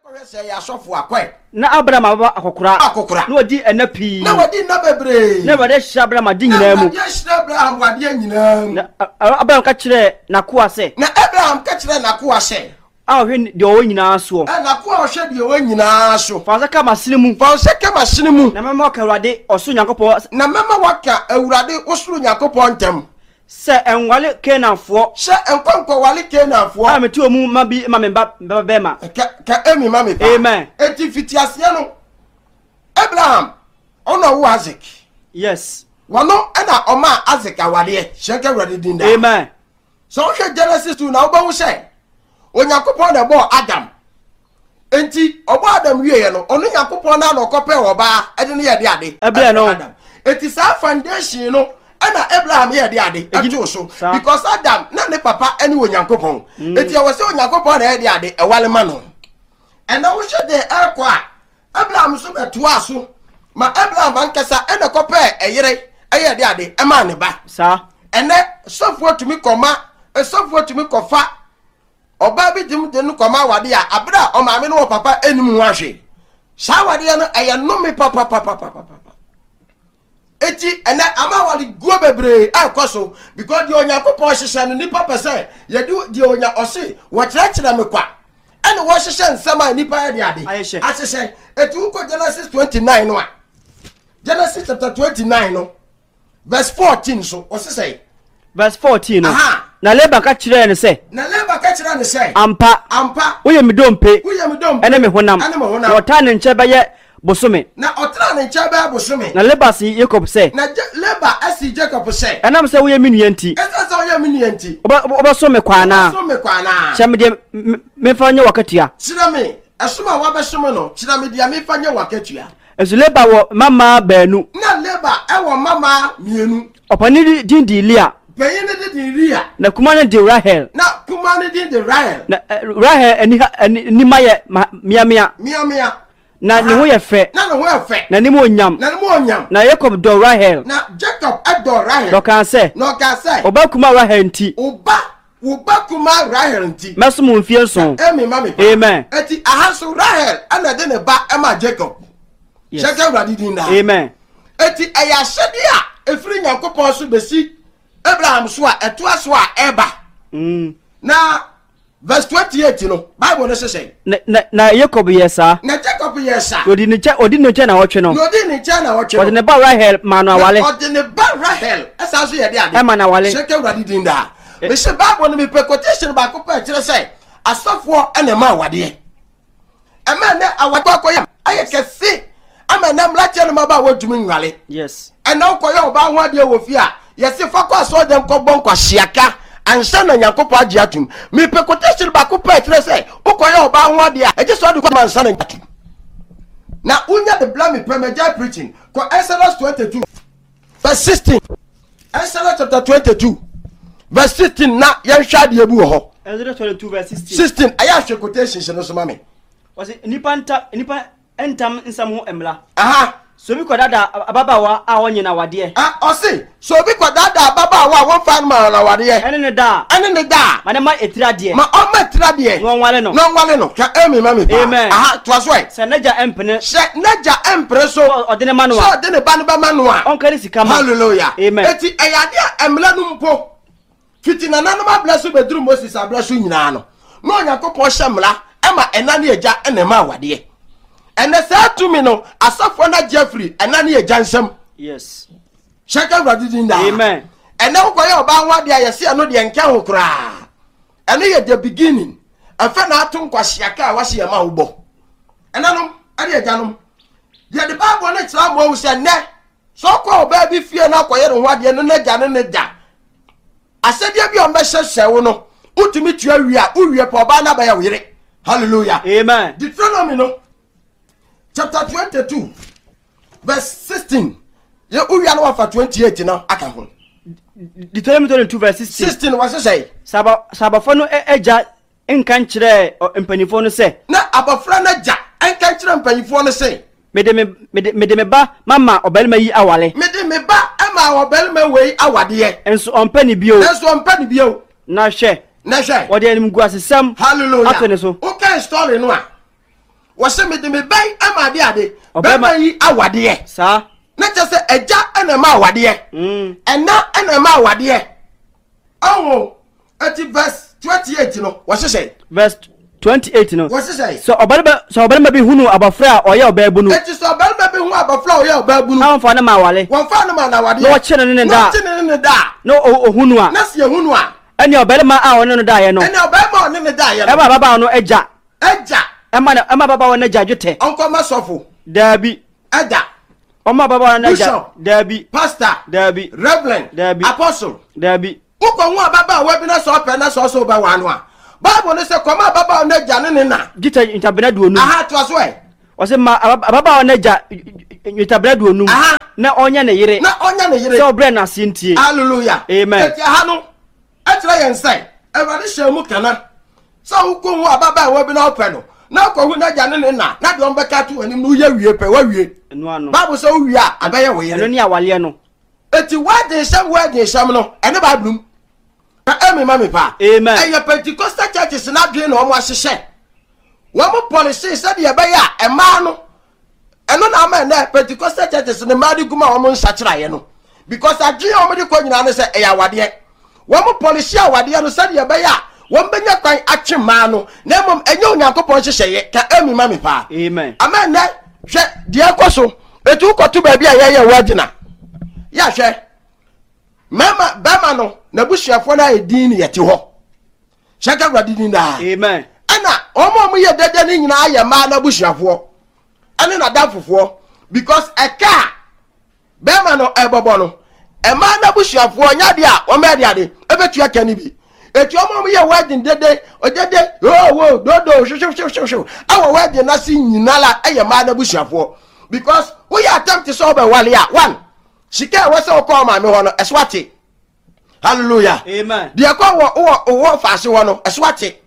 Yɛnkɔhwɛ sɛ ɛyɛ asɔfo a, kɔe. Na Abraham ababa akɔkora. Akɔkora. Na wadi nna pii. Na wadi nna bebree. Na Awurade ahyira Abraham ade nyinaa mu. Na Awurade ahyira Abraham wɔ adeɛ nyinaa mu. Na Abraham ka kyerɛɛ n'akoa sɛ. Na Abraham ka kyerɛɛ n'akoa sɛ. A ɔhwɛ deɛ ɔwɔ nyinaa soɔ. Ɛ n'akoa a ɔhwɛ deɛ ɔwɔ nyinaa so. Fa wo nsa ka m'asene mu. Fa wo nsa ka m'asene mu. Na mɛma woaka Awurade, ɔsoro Nyankopɔn. Na mɛma woaka Awurade, wo soro Nyankopɔn ntam. Sɛ nware Kanaanfoɔ. Sɛ nkɔ nkɔware Kanaanfoɔ. A mete wɔn mu ma bi ma me ba babarima. Ka ka amen ma me paa. Amen. Enti mfitiaseɛ no, Abraham, ɔno na ɔwoo Isaac. Yes. Wɔno na ɔmaa Isaac awareɛ. Hyɛ nka Awurade din daa. Amen. Sɛ wohwɛ Genesis 2 na wobɛhu sɛ Onyankopɔn na ɛbɔɔ Adam. Enti ɔbɔɔ Adam wieɛ no, ɔno Nyankopɔn no ara na ɔkɔpɛɛ ɔbaa ɛde no yɛɛ de ade. Ɛbrɛ no. Adam. Enti saa foundation no ɛna Abraham yɛɛ de ade ɛtoo so. Because Adam na ne papa ɛne Onyankopɔn. Enti ɛwɔ sɛ Onyankopɔn na ɛyɛ de ade ɛwale ma no. Ɛna wohwɛ deɛ ɛrekɔ a, Abraham nso bɛtoaa so ma Abraham ankasa ɛna kɔpɛɛ ɛyere ɛyɛ de ade ɛmaa ne ba. Saa. Ɛnɛ sɔfoɔ tumi kɔma sɔfoɔ tumi kɔfa ɔbaa bi de de no kɔma awadeɛ a abere a ɔmaame no wɔ papa ɛnim ho ahwee. Saa awadeɛ no ɛyɛ nnome papapapapapa. Eti ɛnɛ ama awareguo bebree ɛrekɔ so because deɛ Onyankopɔn hyehyɛ no nipa pɛ sɛ yɛde deɛ onya ɔse wɔkyerɛkyerɛ me kwa ɛna wɔhyehyɛ nsɛm a nipa yɛ de ade ahyehyɛ. Eti wokɔ Genesis 29 no a, Genesis chapter 29 no verse 14 so ɔse sɛ. Verse 14 no. Na Laban ka kyerɛɛ no sɛ. Na Laban ka kyerɛɛ no sɛ. Ampa. Ampa. Woyɛ me dompe. Woyɛ me dompe. Ɛne me honam. Ɛne me honam. Na ɔtaa ne nkyɛn bɛyɛ bosome. Na ɔtenaa ne nkyɛn bɛyɛ bosome. Na Laban see Yakob sɛ. Na Laban see Jacob sɛ. Ɛnam sɛ woyɛ me nua nti. Ɛsiane sɛ woyɛ me nua nti. Wobɛsom me kwa anaa? Wobɛsom me kwa anaa? Kyerɛ me deɛ memfa nyɛ w'akatua. Kyerɛ me ɛsom a woabɛsom no, kyerɛ me deɛ memfa nyɛ w'akatua. Nso Laban wɔ mmammaa baanu. Na Laban wɔ mmammaa mmienu. Ɔpanin no din de Lea. Panyin no din de Lea. Na kumaa no de Rahel. Na kumaa no din de Rahel. Na Rahel ani ha anim ayɛ meamea. Meamea. Na ne ho yɛ fɛ. Na ne ho yɛ fɛ. Na ne mu onyam. Na ne mu onyam. Na Yakob dɔ Rahel. Na Jacob dɔ Rahel. Na ɔkaa sɛ. Na ɔkaa sɛ. Wo ba kumaa Rahel nti. Wo ba wo ba kumaa Rahel nti. Mɛsom wo mfie nson. Amen ma me pa. Amen. Eti aha nso Rahel ɛna ɛde ne ba ɛma Jacob. Yes. Hyɛ ka Awurade din daa. Amen. Eti ɛyɛ ahyɛdeɛ a ɛfiri Nyankopɔn so bɛsi Abraham so a ɛtoa so a ɛba. Na verse 28 no, Bible no hyehyɛ. Na, na, na Jacob yɛɛ saa. Na Jacob yɛɛ saa. Na ɔdi ne nkyɛn, ɔdi ne nkyɛn na ɔtwe no. Na ɔdi ne nkyɛn na ɔtwe no. Ɔde ne ba Rahel maa no awale. Na ɔde ne ba Rahel ɛsan so yɛ de ade. Ɛma no awale. Hyɛ ka Awurade din daa. Mese Bible no mepɛ quotation baako pɛ kyerɛ sɛ asɔfoɔ ɛna ɛma awadeɛ. Ɛma ɛnɛ awadeɛ akɔyɛ ayɛ kɛse ama ɛnɛ mmeranteɛ no mmabaa wɔntumi nwale. Yes. Ɛnɛ wokɔyɛ ɔbaa ho adeɛ wɔ fie a yɛse fa kɔ asɔre dɛm kɔbɔ nkwaseaka ansa na Nyankopɔn agye atum. Mepɛ quotation baako pɛ kyerɛ sɛ wokɔyɛ ɔbaa ho adeɛ a ɛgye sɛ ɔde kɔ ansa na atum. Na wonya de bla mepɛ magyae preaching kɔ Exodus 22 verse 16. Exodus chapter 22 verse 16 na yɛnhwɛ adeɛ bi wɔ hɔ. Exodus 22 verse 16. 16 ɛyɛ ahwɛ quotations no so ma me. Wɔsi nipa nta nipa ntam nsɛm ho mmara. Aha. Sɛ obi kɔdaadaa ababaawa a ɔnyɛ no awadeɛ. A ɔse sɛ obi kɔdaadaa ababaawa a wɔmfa no ma no awadeɛ. Ɛne ne da a. Ɛne ne da a. Ma ne ma etiri adeɛ. Ma ɔmma etiri adeɛ. Na ɔnware no. Na ɔnware no. Hwɛ amen ma me paa. Amen. Aha toa so ɛ. Sɛ n'agya mpene. Sɛ n'agya mpene so. Sɛ ɔde ne ma no a. Sɛ ɔde ne ba no bɛma no a. Ɔnka ne sika ma. Hallelujah. Amen. Eti ɛyɛ adeɛ a mmara no mpo fiti nananom abrɛ so bɛduru Moses abrɛ so nyinaa no, na Onyankopɔn hyɛ mmara ma ɛna ne agya na ɛma awadeɛ. Ɛnɛ saa tumi no asɔfoɔ no agye afiri ɛna ne agya nsam. Yes. Hyɛ ka Awurade din daa. Amen. Ɛnɛ wokɔyɛ ɔbaa ho adeɛ a yɛse ɛno deɛ nka ho koraa. Ɛno yɛ the beginning. Ɛfɛ na ato nkwaseaka a wase yɛ ma wobɔ. Ɛnanom ɛne agyanom, yɛde Bible no kyerɛ amoa wo sɛ nnɛ sɛ ɔkɔ ɔbaa bi fie na akɔyɛ ne ho adeɛ no n'agya ne ne da asɛdeɛ bi a ɔmbɛhyɛ hyɛ wo no wotumi tua wie a wowie pɛ ɔbaa no abɛyɛ wo yere. Hallelujah. Amen. Deuteronomy no chapter 22 verse 16 yɛ wowia no wafa 28 no aka ho. Deuteronomy 22 verse 16. 16 wɔhyehyɛ. Sɛ abɔfra no agya nka nkyerɛɛ mpanimfoɔ no sɛ. Na abɔfra no agya nka nkyerɛ mpanimfoɔ no sɛ. Mede me, mede, mede me ba mama ɔbarima yi aware. Mede me ba ma ɔbarima wei awadeɛ. Nso ɔmpɛ ne bio. Nanso ɔmpɛ ne bio. Na hwɛ. Na hwɛ. Wɔde animguasesɛm. Hallelujah. Ato ne so. Wokan story no a. Wɔsɛ mede me bɛn ama ade ade. Ɔbɛma- Bɛma yi awadeɛ. Saa. Na kyerɛ sɛ agya ɛna ɛma awadeɛ. Ɛna ɛna ɛma awadeɛ. Ɔho eti verse 28 no wɔhyehyɛ. Verse 28 no. Wɔhyehyɛ. Sɛ ɔbarima bi hunu abɔfra a ɔyɛ ɔbaabunu. Eti sɛ ɔbarima bi hu abɔfra a ɔyɛ ɔbaabunu. Na wɔmfa no ma awale. Wɔmfa no ma n'awadeɛ. Na wɔkye no ne ne da. Na wɔkye no ne ne da. Na ohunu a. Na sɛ ehunu a. Ɛne ɔbarima a ɔne no daeɛ no. Ɛne ɔbarima a ɔne ne daeɛ no. Ɛma ababaawa no agya. Agya. Ɛma ababaawa no agya dwetɛ. Ɔnkɔma sɔfo. Daabi. Ɛda. Ɔma ababaawa no agya. Bishop. Daabi. Pastor. Daabi. Reverend. Daabi. Apostle. Daabi. Wokɔhu ababaawa bi na sɛ ɔpɛ na sɛ ɔsɛ wobɛwaa no a, Bible no sɛ kɔma ababaawa no agya ne ne na. Dwetɛ ntabena 50. Aha, toa so ɛ. Ɔsɛ ma ababaawa no agya ntabena 50. Aha. Na ɔnyɛ ne yere. Na ɔnyɛ ne yere. Sɛ ɔbrɛ n'ase ntie. Hallelujah. Amen. Eti aha no, ɛkyerɛ yɛn sɛ Awurade hyɛ mu kana sɛ wokɔhu ababaawa bi na wopɛ no na wokɔhu n'agya ne ne na na deɛ ɔmbɛka ato w'anim no woyɛ wie pɛ woawie. Ɛno ano. Bible sɛ wowie a abɛyɛ wo yere. Ɛno ne awaleɛ no. Eti wedding hyɛm wedding hyɛm no ɛne Bible mu. Na ɛmi ma mi pa. Amen. Ɛyɛ Pentecostal churches n'adwene na wɔn ahyehyɛ. Wɔn policy sɛdeɛ ɛbɛyɛ a mmaa no ɛno na ama ɛnɛ Pentecostal churches ne mmaa de gu ma wɔn nsakyeraeɛ no because adwene a wɔn de kɔ nyinaa no sɛ ɛyɛ awadeɛ. Wɔn policy awadeɛ no sɛdeɛ ɛbɛyɛ a wɔn bɛnya kwan atwe mmaa no na mmom ɛnyɛ Onyankopɔn nhyehyɛeɛ ka ɛmi ma mi paa. Amen. Ama ɛnɛ hwɛ deɛ ɛkɔ so etu kɔto baabi a yɛyɛ wedding a yɛahwɛ mmarima bɛrima no n'abusuafoɔ no ayɛ din ne yɛte hɔ hyɛ ka Awurade din daa. Amen. Ɛna wɔn a wɔyɛ dɛdɛ no nyinaa yɛ mmaa n'abusuafoɔ ɛne n'adamfofoɔ because ɛka a bɛrima no ɛbɔbɔ no mmaa n'abusuafoɔ nyɛ adeɛ a wɔn bɛyɛ de ade ɛbɛtua ka no bi etu wɔn a wɔyɛ wedding dede ɔdede owo dodo hwehwehwehwehwe ɛwɔ wedding n'ase nyinaa la ɛyɛ mmaa n'abusuafoɔ because woyɛ attempt sɛ ɔbɛwale a one sika a ɛwɔ sɛ ɔkɔ ɔmaame hɔ no ɛso ate. Hallelujah. Amen. Deɛ kɔ wɔ wɔ wɔ faase hɔ no ɛso ate.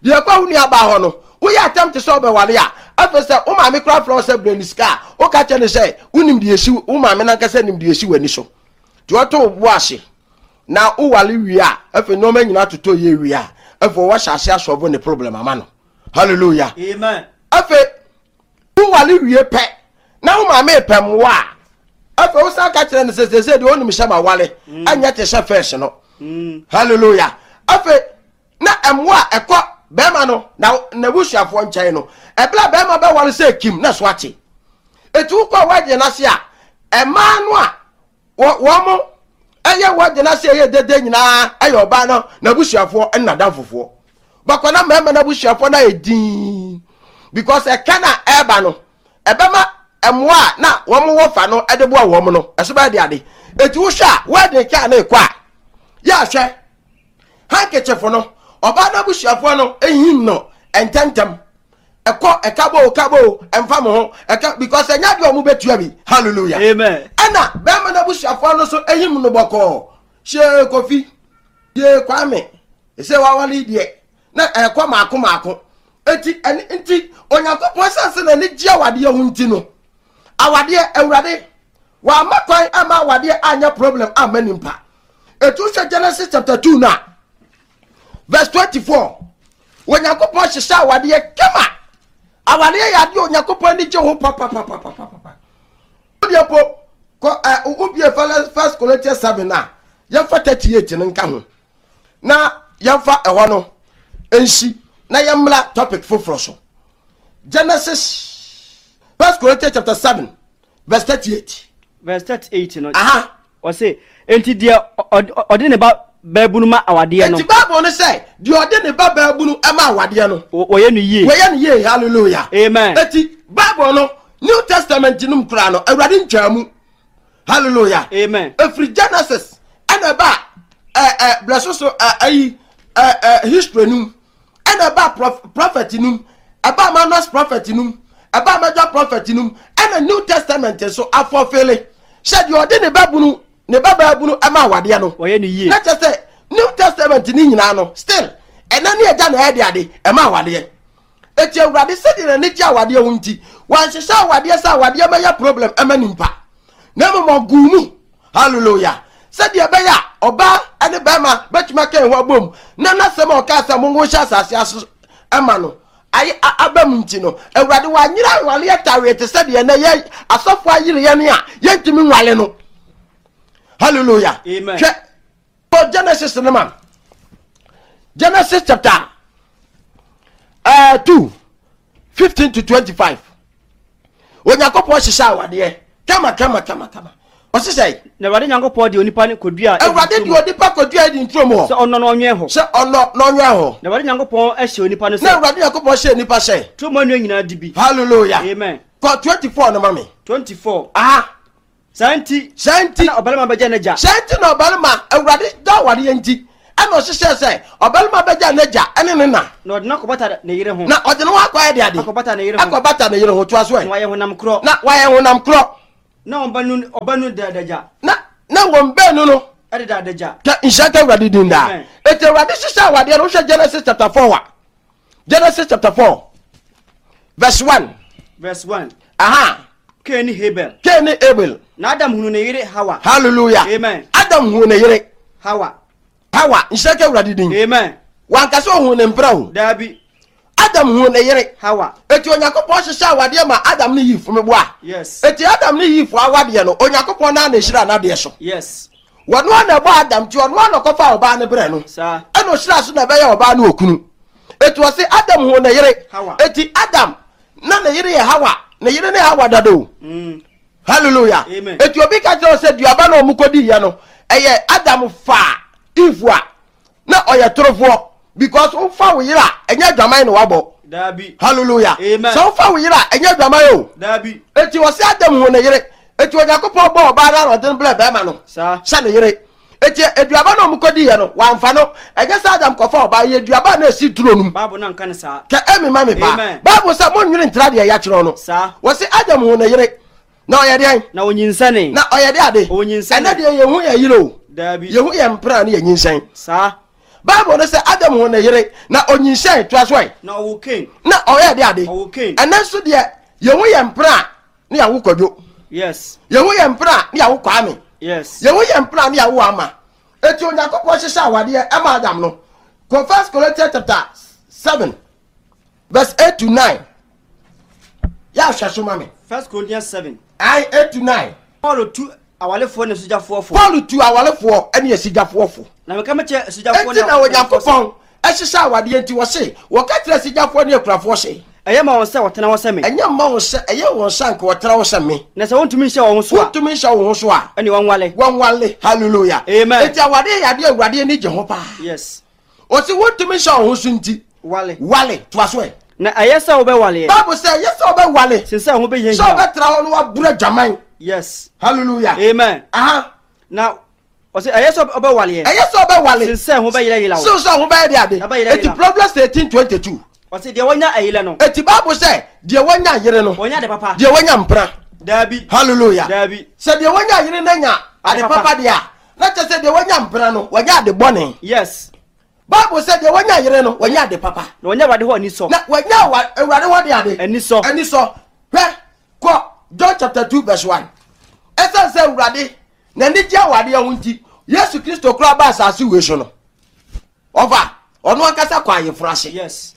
Deɛ kɔ wo nua baa hɔ no woyɛ attempt sɛ ɔbɛwale a afei sɛ wo maame kora frɛ wo sɛ brɛ ne sika a woka kyerɛ ne sɛ wonim deɛ esi wo maame nankasa nim deɛ esi w'ani so. Nti ɔto wo bo ase na wowale wie a afei nneɛma nyinaa totɔ yie wie a afei wɔahyɛ ase asɔvo ne problem ama no. Hallelujah. Amen. Afei wowale wie pɛ na wo maame pɛ mmoa a afei wosan ka kyerɛ no sɛ sɛsɛ deɛ ɔnim sɛ ma wale ɛnyɛ te sɛ fɛs no. Hallelujah. Afei na mmoa a ɛkɔ bɛrima no na n'abusuafoɔ nkyɛn no ɛberɛ a bɛrima bɛwale sɛ kim na so ate. Eti wokɔ wedding n'ase a mmaa no a wɔn mo ɛyɛ wedding n'ase ɛyɛ dede nyinaa ɛyɛ ɔbaa no n'abusuafoɔ ɛne n'adamfofoɔ. Bɛkɔ na mmarima n'abusuafoɔ no ayɛ dinn because ɛka na ɛreba no ɛbɛma mmoa a na wɔn wɔ fa no ɛde boa wɔn no ɛso bɛyɛ de ade. Eti wohwɛ a wedding kaa no ekɔ a yɛ ahwɛ handkerchief no ɔbaa n'abusuafoɔ no ehim no ntɛntɛm ɛkɔ ɛka bo ka bo ɛnfa mo ho ɛka because ɛnya deɛ ɔmo bɛtua bi. Hallelujah. Amen. Ɛna bɛrima n'abusuafoɔ no nso ehim no bɔkɔɔ hyɛ Kofi yɛ Kwame ɛsɛ wawale deɛ na ɛkɔ maako maako. Eti ɛne nti Onyankopɔn sase na ne gye awadeɛ ho nti no awadeɛ Awurade wama kwan ama awadeɛ anyɛ problem ama nipa. Etu hwɛ Genesis chapter 2 na verse 24 Onyankopɔn hyehyɛ awadeɛ kama. Awadeɛ yɛ adeɛ Onyankopɔn ani gye ho papapapapapa. Wodeɛ po kɔ ɛ wobie First Corinthians 7 na yɛmfa 38 no nka ho na yɛmfa ɛhɔ no nsi na yɛmmra topic foforɔ so. Genesis First Corinthians chapter 7 verse 38. Verse 38 no. Aha. Ɔse enti deɛ ɔde ne ba baabunu ma awadeɛ no. Enti Bible no sɛ deɛ ɔde ne ba baabunu ma awadeɛ no. Wɔyɛ no yie. Wɔyɛ no yie. Hallelujah. Amen. Eti Bible no New Testament no mu koraa no Awurade ntwaa mu. Hallelujah. Amen. Efiri Genesis ɛna ɛba ɛ brɛso so ɛyi ɛ history no mu ɛna ɛba prophet no mu ɛba minors prophet no mu ɛba major prophet no mu ɛna New Testament nso afɔfele sɛ deɛ ɔde ne ba bunu ne ba baabunu ɛma awadeɛ no. Wɔyɛ no yie. Na kyerɛ sɛ New Testament ne nyinaa no still ɛna ne agya na ɛyɛ de ade ɛma awadeɛ. Eti Awurade sɛdeɛ n'ani gye awadeɛ ho nti wanhyehyɛ awadeɛ sɛ awadeɛ bɛyɛ problem ɛma nipa na mmom ɔguu mu. Hallelujah. Sɛdeɛ ɛbɛyɛ a ɔbaa ne bɛrima bɛtumi aka ɛho abom na n'asɛm a ɔkaa sɛ monwo nhyɛ asase ase ɛma no. Ayɛ a aba mu nti no, Awurade wanyere awareɛ taweɛ te sɛ deɛ ɛnɛ yɛ asɔfo ayere yɛn a yɛntumi nwale no. Hallelujah. Amen. Hwɛ kɔ Genesis no ma. Genesis chapter 2 15 to 25. Onyankopɔn hyehyɛ awadeɛ kama kama kama kama. Ɔse sɛ. Na Awurade Nyankopɔn de onipa no kɔduaa Eden Awurade de turo mu. onipa kɔduaa Eden turo mu hɔ. Sɛ ɔnnɔ na ɔnwɛn hɔ. Sɛ ɔnnɔ na ɔnwɛn hɔ. Na Awurade Nyankopɔn hyɛɛ onipa no sɛ. Na Awurade Nyankopɔn hyɛɛ nipa sɛ. Turo mu nnua nyinaa di bi. Hallelujah. Amen. Kɔ 24 no ma me. 24. Aha. Saa nti. Saa nti. Na ɔbarima bɛgya n'agya. Saa nti na ɔbarima, Awurade da awareɛ nti, ɛna ɔhyehyɛɛ sɛ ɔbarima bɛgya n'agya ne ne na. Na ɔde no akɔbata ne yere ho. Na ɔde ne ho akɔyɛ de ade. Akɔbata ne yere ho. Akɔbata ne yere ho. Toa so ɛ. Na wɔayɛ honam korɔ. Na wɔayɛ honam korɔ. Na wɔn baanu ɔbaanu da adagya. Na na wɔn baanu no. Ɛdeda adagya. Ka nhyira nka Awurade din daa. Eti Awurade hyehyɛ awadeɛ no, wohwɛ Genesis chapter 4 a. Genesis chapter 4 verse 1. Verse 1. Aha. Cain ne Abel. Cain ne Abel. Na Adam hunu ne yere Hawa. Hallelujah. Amen. Adam hunu ne yere. Hawa. Hawa, nhyira nka Awurade din. Amen. Wanka sɛ ohun ne mpena o. Daabi. Adam huu ne yere. Hawa. Eti Onyankopɔn hyehyɛ awadeɛ ma Adam ne Eve meboa. Yes. Eti Adam ne Eve awadeɛ no, Onyankopɔn naa na ehyira n'adeɛ so. Yes. Wɔno ara na ɛbɔ Adam nti ɔno ara na ɔkɔfa ɔbaa no brɛ no. Saa. Ɛna ɔhyira so na ɛbɛyɛ ɔbaa no okunu. Eti ɔse Adam huu ne yere. Hawa. Eti Adam na ne yere yɛ Hawa. Ne yere ne Hawa dada o. Hallelujah. Amen. Eti obi ka kyerɛ wo sɛ duaba na wɔn kɔdi yɛ no, ɛyɛ Adam faa Eve a na ɔyɛ torofoɔ because wofa wo yere a ɛnyɛ adwaman na wabɔ. Daabi. Hallelujah. Amen. Sɛ wofa wo yere a ɛnyɛ adwaman o. Daabi. Eti wɔsi Adam hu ne yere. Eti Onyankopɔn bɔ ɔbaa no na ɔde no brɛ bɛrima no. Saa. Sɛ ne yere. Eti aduaba na wɔn kɔdi yɛ no wɔamfa no. Ɛnyɛ sɛ Adam kɔfa ɔbaa yɛ aduaba na esi turo no mu. Bible no anka no saa. Kɛ emi ma me paa. Amen. Bible sɛ monnwene ntra deɛ yɛakyerɛw no. Saa. Wɔsi Adam hu ne yere. Na ɔyɛ deɛn? Na ɔnyinsɛnee. Na ɔyɛ de ade. Ɔnyinsɛnee. Ɛnɛ deɛ yɛhu yɛ yere o. Daabi. Yɛhu yɛ mpena ne yɛnyinsɛn. Saa. Bible no sɛ Adam hu ne yere na ɔnyinsɛn toa so ɛ. Na ɔwo Kain. Na ɔyɛ de ade. Ɔwo Kain. Ɛnɛ nso deɛ yɛhu yɛ mpena ne yɛawo Kwadwo. Yes. Yɛhu yɛ mpena ne yɛawo Kwame. Yes. Yɛhu yɛ mpena ne yɛawo Ama. Eti Onyankopɔn hyehyɛ awadeɛ ɛma Adam no. Kɔ First Corinthians chapter 7 verse 8 to 9. Yɛ ahwɛ so ma me. First Corinthians 7. Ayi 8 to 9. Paul tu awalefoɔ ne asigyafoɔ fo. Paul tu awalefoɔ ne asigyafoɔ fo. Na meka mekyerɛ asigyafoɔ ne Enti na Onyankopɔn ɛhyehyɛ awadeɛ nti wɔse wɔka kyerɛ asigyafoɔ ne akurafoɔ se. Ɛyɛ ma wɔn sɛ wɔtena hɔ sɛ me. Ɛnyɛ mma wɔn sɛ ɛyɛ wɔn sɛ anka wɔtena hɔ sɛ me. Na sɛ wɔntumi nhyɛ wɔn ho so a. Wɔntumi nhyɛ wɔn ho so a. Ɛne wɔnwale. Wɔnwale. Hallelujah. Amen. Enti awadeɛ yɛ adeɛ Awurade ani gye ho paa. Yes. Ɔse wontumi nhyɛ wo ho so nti. Wale. Wale. Toa so ɛ. Na ɛyɛ sɛ wobɛwaleɛ. Bible sɛ ɛyɛ sɛ wobɛwale. Sen sɛ ho bɛhiahia. Sɛ wobɛtra hɔ no waboro adwaman. Yes. Hallelujah. Amen. Aha. Na ɔsɛ ɛyɛ sɛ ɔbɛwaleɛ. Ɛyɛ sɛ ɔbɛwale. Sen sɛ ho bɛyerɛyera wo. Sen sɛ ho bɛyɛ de ade. Ɛbɛyerɛyera. Eti Proverbs 18:22. Ɔsɛ deɛ wanya ayerɛ no. Eti Bible sɛ deɛ wanya ayere no. Wɔnya ade papa. Deɛ wanya mpena. Daabi. Hallelujah. Daabi. Sɛ deɛ wanya ayere no anya ade papa deɛ a. Na kyerɛ sɛ deɛ wanya mpena no, wanya ade bɔne. Yes. Bible sɛ deɛ wanya yere no, wanya ade papa. Na wanya Awurade hɔ anisɔ. Na wanya Awurade hɔ de ade. Anisɔ. Anisɔ. Hwɛ, kɔ John chapter 2 verse 1. Ɛsiane sɛ Awurade n'ani gye awadeɛ ho nti, Yesu Kristo koraa ba asase wei so no. Ɔfa, ɔno ankasa kɔ ayeforo ase. Yes.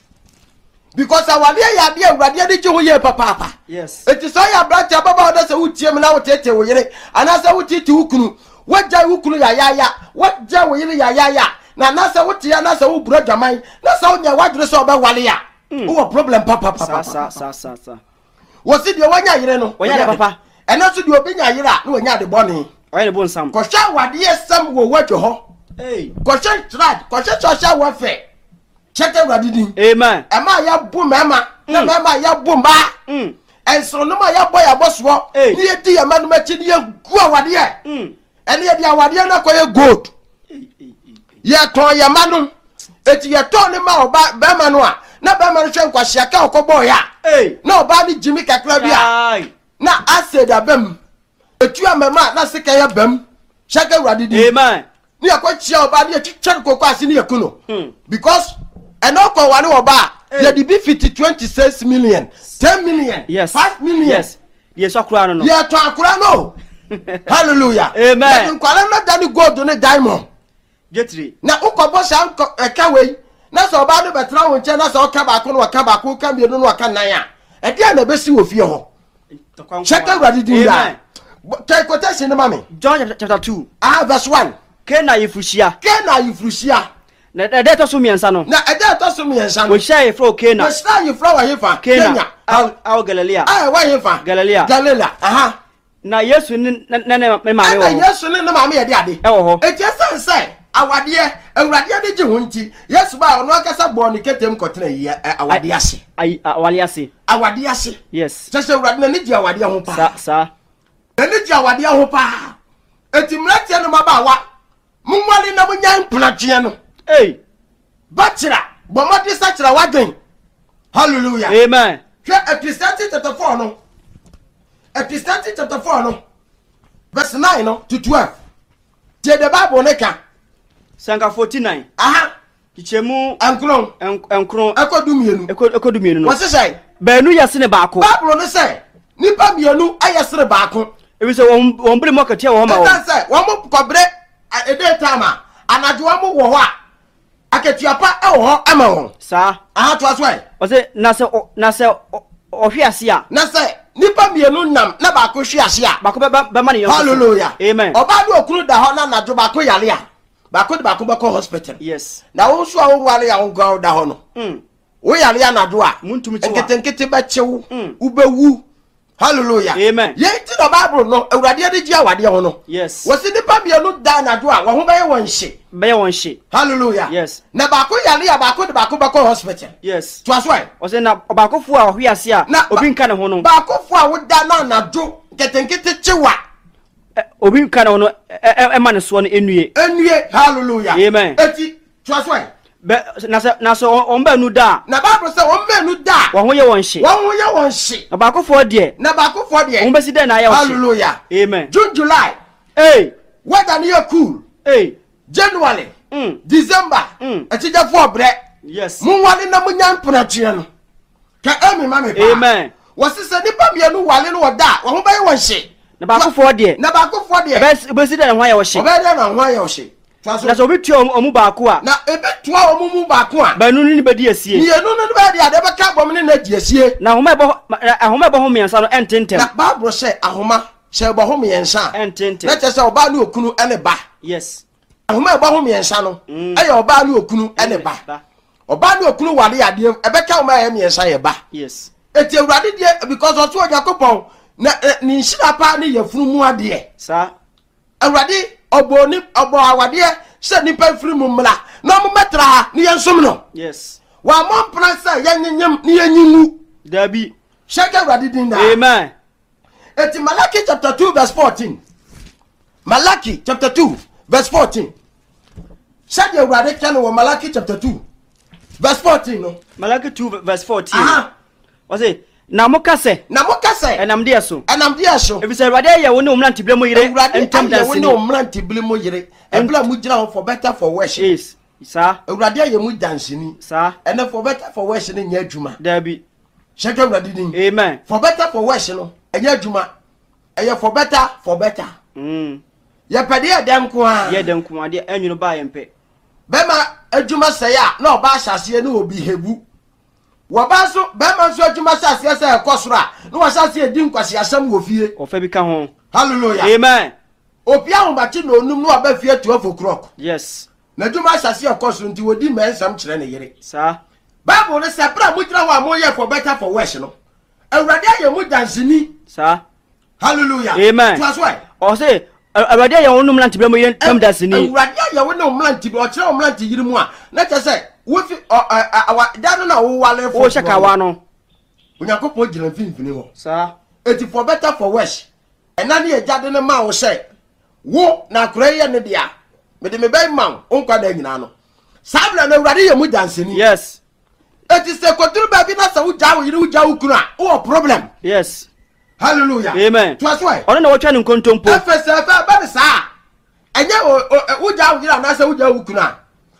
Because awadeɛ yɛ adeɛ awurade ani gye ho yie papaapa. Yes. Eti sɛ ɔyɛ aberante ababaawa na sɛ wotie mu na woteetee wo yere anaasɛ woteetee wo kunu, woagyae wo kunu yayaaya, woagyae wo yere yayaaya, na anaasɛ wote anaasɛ woburu adwaman na sɛ wonyɛ w'adwene sɛ ɔbɛwale a, wowɔ problem Saa papapapa. saa saa saa saa. Wɔsi deɛ wanya yere no, Wanya ade papa. Ɛno nso deɛ obi nya yere a na wanya ade bɔne. Ɔyɛ ne bonsam. Kɔhwɛ awadeɛ sɛm wɔ wadwo hɔ. Hey. Kɔhwɛ trad, kɔhwɛ social welfare. Kyɛkɛ awurade din. Amen. Ɛma a yɛbo mmarima na mmarima a yɛbo mmaa. Nsonom a yɛbɔ yɛn abɔsoɔ Hey. ne yɛdi yɛn mma nom akyi ne yɛgu awadeɛ. Ɛne yɛde awadeɛ no akɔyɛ gold. Yɛtɔn yɛn mma nom. Eti yɛtɔn ne ma ɔba bɛrima no a na bɛrima no hwɛ nkwahyia ka ɔkɔbɔɔ yɛ a Hey. na ɔbaa no gyimi kakra bi a Kai. na acid aba mu. Etu amama a na sika yɛ bam. Hyɛkɛ awurade din. Amen. Ne yɛkɔkyia ɔbaa ne yɛtwitwa no koko ase ne yɛku no. Because ɛna ɔkɔ ware ɔbaa a yɛde bi fiti 26 million, 10 million, Yes. 5 million. Yes. Deɛ ɛsɔ koraa no no. Yɛtɔ akora no. Hallelujah. Amen. Yɛde nkwara no da ne gold ne diamond. Dwetire. Na wokɔbɔ saa ɛka wei. Na sɛ ɔbaa no bɛtena wo nkyɛn na sɛ ɔka baako na ɔka baako, ɔka mmienu na ɔka nnan a, ɛdeɛn na ɛbɛsi wɔ fie hɔ? Hyɛ ka Awurade din daa. Kɛ quotation no ma me. John chapter 2. Ah, verse 1. Kana ayefuruhyia. Kana ayefuruhyia. Na ɛda ɛtɔ so mmiɛnsa no. Na ɛda ɛtɔ so mmiɛnsa no. Wɔhyia ayeforo wɔ Kana. Wɔhyia ayeforo wɔ hefa? Kenya. Awɔ Galilea. A ɛwɔ hefa? Galilea. Galilea. Aha. Na Yesu ne ne ne ne maame wɔ hɔ. Ɛna Yesu ne ne maame yɛ de ade. Ɛwɔ hɔ. Eti ɛsan sɛ awadeɛ Awurade ani gye ho nti, Yesu baa ɔno ankasa bɔɔ ne ketem kɔtena yi awadeɛ ase. Ayi awadeɛ ase. Awadeɛ ase. Yes. Kyɛ sɛ Awurade n'ani gye awadeɛ ho paa. Saa saa. N'ani gye awadeɛ ho paa. Eti mmeranteɛ no mmabaawa, monwale na monyae mpenatweɛ no. Ei. Bɛkyerɛ, bɔ mmɔden sakyera w'adwen. Hallelujah. Amen. Hwɛ Ecclesiastes chapter 4 no. Ecclesiastes chapter 4 no. Verse 9 no to 12. Tie the Bible ne ka. Sɛnkafoɔ ti nan. Aha. Kyekyɛmu. Nkron. Nkron. Ɛkɔ du mmienu. Ɛkɔ du mmienu no. Wɔsi sɛ. Baanu yɛ sene baako. Bible no sɛ nipa mmienu yɛ sene baako. Ebi sɛ wɔn wɔn bere mu akatua wɔ hɔ ma wɔn. Ɛsan sɛ wɔn kɔbere ɛdɛ time a anadwo wɔn wɔ hɔ a akatua pa wɔ hɔ ma wɔn. Saa. Aha toa so ɛ. Ɔsɛ na sɛ na sɛ ɔhwe ase a. Na sɛ nipa mmienu nam na baako hwe ase a. Baako bɛ bɛma ne yɔnko so. Hallelujah. Amen. Ɔbaa ne okunu da hɔ na anadwo baako yare a baako de baako bɛkɔ hospital. Yes. Na wo nso a woware a wo nko a woda hɔ no. Mm. Wo yare anadwo a. Muntumi kyew a. Nketenkete bɛkyew. Mm. Wobɛwu. Hallelujah. Amen. Yɛn ti na Bible no Awurade ani gye awadeɛ ho no. Yes. Wɔsi nipa mmienu da anadwo a wɔn ho bɛyɛ wɔn hye. Bɛyɛ wɔn hye. Hallelujah. Yes. Na baako yare a baako de baako bɛkɔ hospital. Yes. Toa so ɛ. Ɔsɛ na ɔbaakofo a ɔhwe ase a Na obi nka ne ho no. Baakofo a woda na anadwo nketenkete kyewa. Obi nka ne ho no ɛma ne soɔ no nnue. Nnue. Hallelujah. Amen. Eti toa so ɛ. Bɛ na sɛ na sɛ wɔn baanu da a. Na Bible sɛ wɔn baanu da a. Wɔn ho yɛ wɔn hye. Wɔn ho yɛ wɔn hye. Na baakofoɔ deɛ. Na baakofoɔ deɛ. Wɔn bɛsi dɛn na ayɛ wɔn hye. Hallelujah. Amen. June July. Hey. Weather no yɛ cool. Hey. January. Mm. December. Mm. Akyigyafoɔ brɛ. Yes. Monwale na monya mpenatweɛ no. Ka amen ma me paa. Amen. Wɔsi sɛ nipa mmienu wale no wɔ da a, wɔn ho bɛyɛ wɔn hye. Na baakofoɔ deɛ. Na baakofoɔ deɛ. Ɛbɛsi dɛn na ho ayɛ wɔn hye. Ɔbɛyɛ dɛn na ho ayɛ wɔn hye. Toa so. Na sɛ obi tua wɔn mu baako a. Na ebi toa wɔn mu baako a. Baanu no ne bɛdi asie. Mmienu no ne bɛyɛ deɛ adeɛ bɛka abom ne no adi asie. Na ahoma a ɛbɔ ahoma a ɛbɔ ho mmiɛnsa no ɛnte ntɛm. Na Bible sɛ ahoma sɛ ɛbɔ ho mmiɛnsa a. Ɛnte ntɛm. Na kyerɛ sɛ ɔbaa ne okunu ne ba. Yes. Ahoma a ɛbɔ ho mmiɛnsa no mm. ɛyɛ ɔbaa ne okunu ne ba. Ɔbaa ne okunu ware adeɛ ɛbɛka ahoma a ɛyɛ mmiɛnsa yɛ ba. Yes. Eti awurade deɛ because ɔso Onyankopɔn na ne nhyira paa ne yafunu mu adeɛ. Saa. Awurade ɔbɔ ni ɔbɔ awadeɛ sɛ nipa mfiri mu mmra na ɔmo mɛtra ha ne yɛn som no. Yes. Wɔamɔ mpena sɛ yɛnyenyem ne yɛnyi ngu. Dabi. Hyɛ ka Awurade din daa. Amen. Eti Malachi chapter 2 verse 14. Malachi chapter 2 verse 14. Sɛdeɛ Awurade ka no wɔ Malachi chapter 2 verse 14 no. Malachi 2 verse 14. Aha. Ɔse, na moka sɛ. Na moka sɛ. Ɛnam deɛ so. Ɛnam deɛ so. Efisɛ Awurade ayɛ wo ne wo mmerantebere mu yere Awurade ntam ayɛ wo ne danseni. wo mmerantebere mu yere. Ɛberɛ a mogyina hɔ for better for worse. Yes. Saa. Awurade ayɛ mu danseni. Saa. Ɛnɛ for better for worse no nyɛ adwuma. Dabi. Hyɛ ka Awurade din. Amen. For better for worse no ɛnyɛ adwuma. Ɛyɛ for better for better. Mm. Yɛpɛ deɛ ɛdɛ nko ara. Yɛ dɛ nko ara deɛ ɛnwono baa yɛn pɛ. Bɛma adwuma sɛe a na ɔbaa hyɛ aseɛ ne obi hebu. Wɔba nso bɛrima nso adwuma hyɛ aseɛ sɛ ɛkɔ soro a na wahyɛ aseɛ di nkwaseasɛm wɔ fie. Ɔfa bi ka ho. Hallelujah. Amen. Opi ahomakye na onum na waba fie 12 o'clock. Yes. N'adwuma ahyɛ aseɛ ɛkɔ soro nti wɔdi mmɛnsɛm kyerɛ ne yere. Saa. Bible no sɛ berɛ a mogyina hɔ a moyɛ for better for worse no, Awurade ayɛ mo danseni. Saa. Hallelujah. Amen. Toa so ɛ. Ɔse Awurade ayɛ wo ne mmerantebere mu yere ntam danseni. Awurade ayɛ wo ne wo mmerantebere, ɔkyerɛ wo mmerante yere mu a, na kyerɛ sɛ wofi ɔ ɛ awa da no na wowale foforɔ. Wohyɛ kawa no. Onyankopɔn gyina mfimfini hɔ. Saa. Eti for better for worse, ɛna ne agya de no maa wo sɛ wo na akora yi yɛ ne dea, mede me bɛn ma wo, wo nkwa da nyinaa no. Saa berɛ no Awurade yɛ mu danseni. Yes. Eti sɛ kɔduru baabi na sɛ wogyaa wo yere wogyaa wo kunu a, wowɔ problem. Yes. Hallelujah. Amen. Toa so ɛ. Ɔno na wɔtwa ne nkontompo. Ɛfɛ sɛ ɛfɛ ɛbɛ ne saa a, ɛnyɛ wogyaa wo yere anaasɛ wogyaa wo kunu a,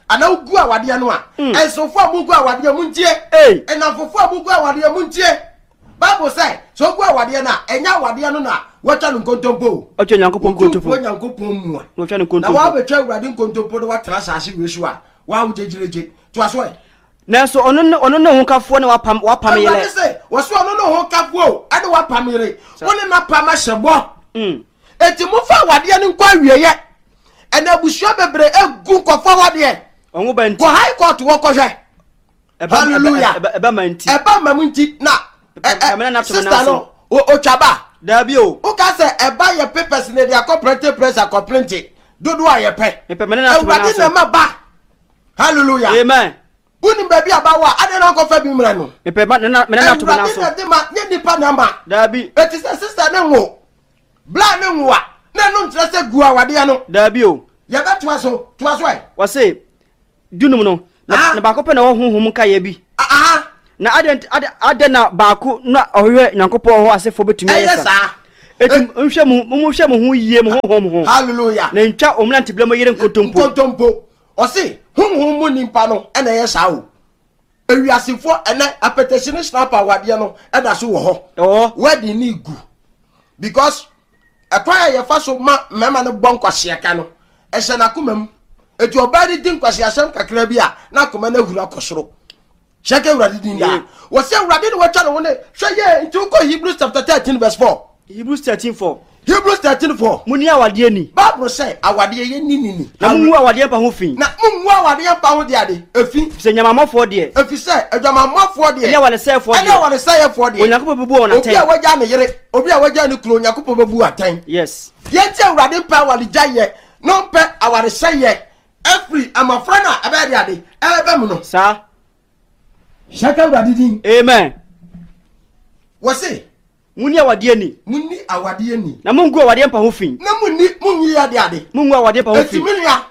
anaa wogu awadeɛ no a, mm. nsofo a mugu awadeɛ mu ntie. Nnamfofo a mugu awadeɛ mu ntie. Bible sɛ, sɛ wogu awadeɛ no a, ɛnyɛ awadeɛ no na wɔatwa no nkontompo o. Ɔtwa Nyankopɔn nkontompo. Otumfoɔ Nyankopɔn mua. Na wɔtwa no nkontompo. Na wɔabɛtwa Awurade nkontompo na wɔatena asase wei so a, wɔa wogyegyeregye. Toa so ɛ. Nanso ɔno ne ɔno ne hokafoɔ ne wapam wapam yere. Awurade se, wɔse ɔno ne hokafoɔ o, ɛne wapam yere. Wo ne n'apam ahyɛ bɔ. Mm. Enti momfa awadeɛ no nkɔ awieɛ. Ɛna abusua bebree egu nkɔfo awadeɛ. Ɔho ba nti. Kɔ high court wɔ kɔhwɛ. Hallelujah. Ɛba ma nti. Ɛba ma mu nti na. Sister no otwa ba. Daabi o. Woka sɛ ɛba yɛ papers na ɛde akɔ printing press akɔ printing dodoɔ a yɛpɛ. Awurade na ɛma ba. Hallelujah. Amen. Wonim baabi a ba wɔ a adɛn na nkɔfa bi mmra no. Mepɛ ma nana mena to Awurade na ɛde ma nyɛ nipa na ma. Daabi. Eti sɛ sister ne nwo bla ne nwo a na ɛno nkyerɛ sɛ gu awadeɛ no. Daabi o. Yɛbɛtoa so toa so ɛ. Wɔse dunum no, na, na baako pɛ na ɔwɔ honhom nkaeɛ bi. Aha. Na adɛn adɛn na baako na ɔhwehwɛ Nyankopɔn hɔ asefoɔ bɛtumi ayɛ saa? Eti nhwɛ mo monhwɛ mo ho yie mo honhom ho. Hallelujah. Na ntwa wɔn mmeranteberɛ mu yere nkontompo. Nkontompo. Ɔse honhom mu nipa no ɛna ɛyɛ saa o. Ewiasefoɔ ɛnɛ apɛtɛsi ne snap awadeɛ no ɛda so wɔ hɔ. Ɛwɔ. Wedding ne gu because Ɛkwan a yɛfa so ma mmarima no bɔ nkwaseaka no, ɛhyɛ n'akoma mu. Eti ɔbaa no di nkwaseasɛm kakra bi a, n'akoma no ahuru akɔ soro. Hyɛ ka Awurade din daa. Wɔsi Awurade na watwa ne ho ne hwɛ yie nti wokɔ Hebrews chapter 13 verse 4. Hebrews 13 4. Hebrews 13 4. Munni awadeɛ ni. Bible sɛ awadeɛ yɛ ni ni ni. Na mungu awadeɛ mpa ho fi. Na mungu awadeɛ mpa ho deɛ ade efi. Efisɛ nyamamɔfoɔ deɛ. Efisɛ adwamammɔfoɔ deɛ. Ɛne awaresɛefoɔ deɛ. Ɛne awaresɛefoɔ deɛ. Onyankopɔn bɛbu wɔn atɛn. Obi a wagya ne yere, obi a wagya ne kunu, Onyankopɔn bɛbu atɛn. Yes. Deɛ nti Awurade mpɛ awaregyaeɛ na ɔmpɛ awaresɛeɛ afiri mmɔfra no a ɛbɛyɛ de ade ɛbɛba mu no. Saa. Hyɛ ka Awurade din. Amen. Wɔse. Munni awadeɛ ni. Munni awadeɛ ni. Na mungu awadeɛ mpa ho fi. Na munni munyi ade ade. Mungu awadeɛ mpa ho fi. Eti me nua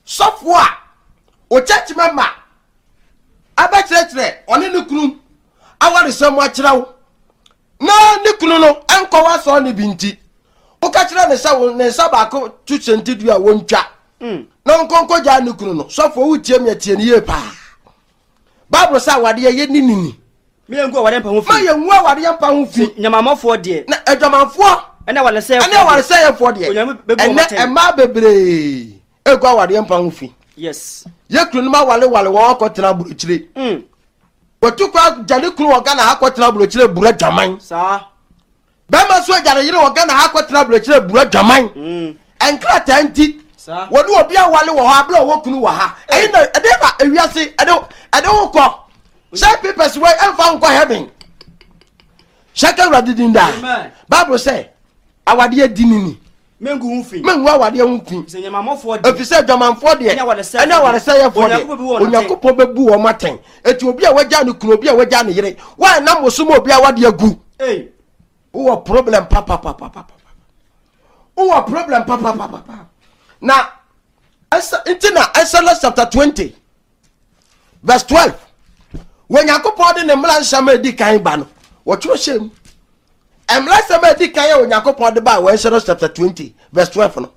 sɔfoɔ a o church member abɛkyerɛkyerɛ ɔne ne kunu awaresɛm akyerɛ wo na ne kunu no nkɔ w'asɔre no bi nti woka kyerɛ ne sɛ ne nsa baako to hyɛnti dua a wɔntwa mm. na ɔnkɔnkɔ gyaa ne kunu no sɔfoɔ wotie me atie no yie paa bible sɛ awadeɛ yɛ ne nini ma yɛngu awadeɛ mpa ho fi ma yɛngu awadeɛ mpa ho fi nyamamɔfoɔ deɛ na adwamanfoɔ ɛne awaresɛefoɔ ɛne awaresɛefoɔ deɛ ɛnɛ mmaa bebree egu awadeɛ mpa ho fi yes yɛ kunu no ma walewale wɔn akɔtena aburokyire mm. Watu kwan agya ne kunu wɔ Ghana ha kɔtena aburokyire buru adwaman. Saa. Bɛrima nso agya ne yere wɔ Ghana ha kɔtena aburokyire buru adwaman. Mm. Nkrataa nti. Saa. Wɔne obi awale wɔ hɔ abere ɔwɔ kunu wɔ ha. Ɛyi na ɛde na ewiase ɛde ɛde wo kɔ. Sɛ papers wei ɛnfa nkɔ heaven. Hyɛ ka Awurade din daa. Amen. Bible sɛ awadeɛ di ne ni. Mengu ho fi. Mengu awadeɛ ho fi. Sɛ nyamamɔfoɔ deɛ. Ɛfiri sɛ adwamanfoɔ deɛ. Ɛne awaresɛeɛfoɔ deɛ. Onyankopɔn bɛbu wɔn atɛn. Eti obi a wagya ne kunu, obi a wagya ne yere, wɔanam wo so ma obi awadeɛ agu. Wowɔ problem papapapapa. Wowɔ problem papapapapa. Na ɛsɛ nti na Exodus chapter 20 verse 12 wɔ Onyankopɔn de ne mmara nsɛm a edi kan ba no, wɔtwerɛ hyɛ mu. Mmara nsɛm a edi kan a Onyankopɔn de ba wɔ Exodus chapter 20 verse 12 no,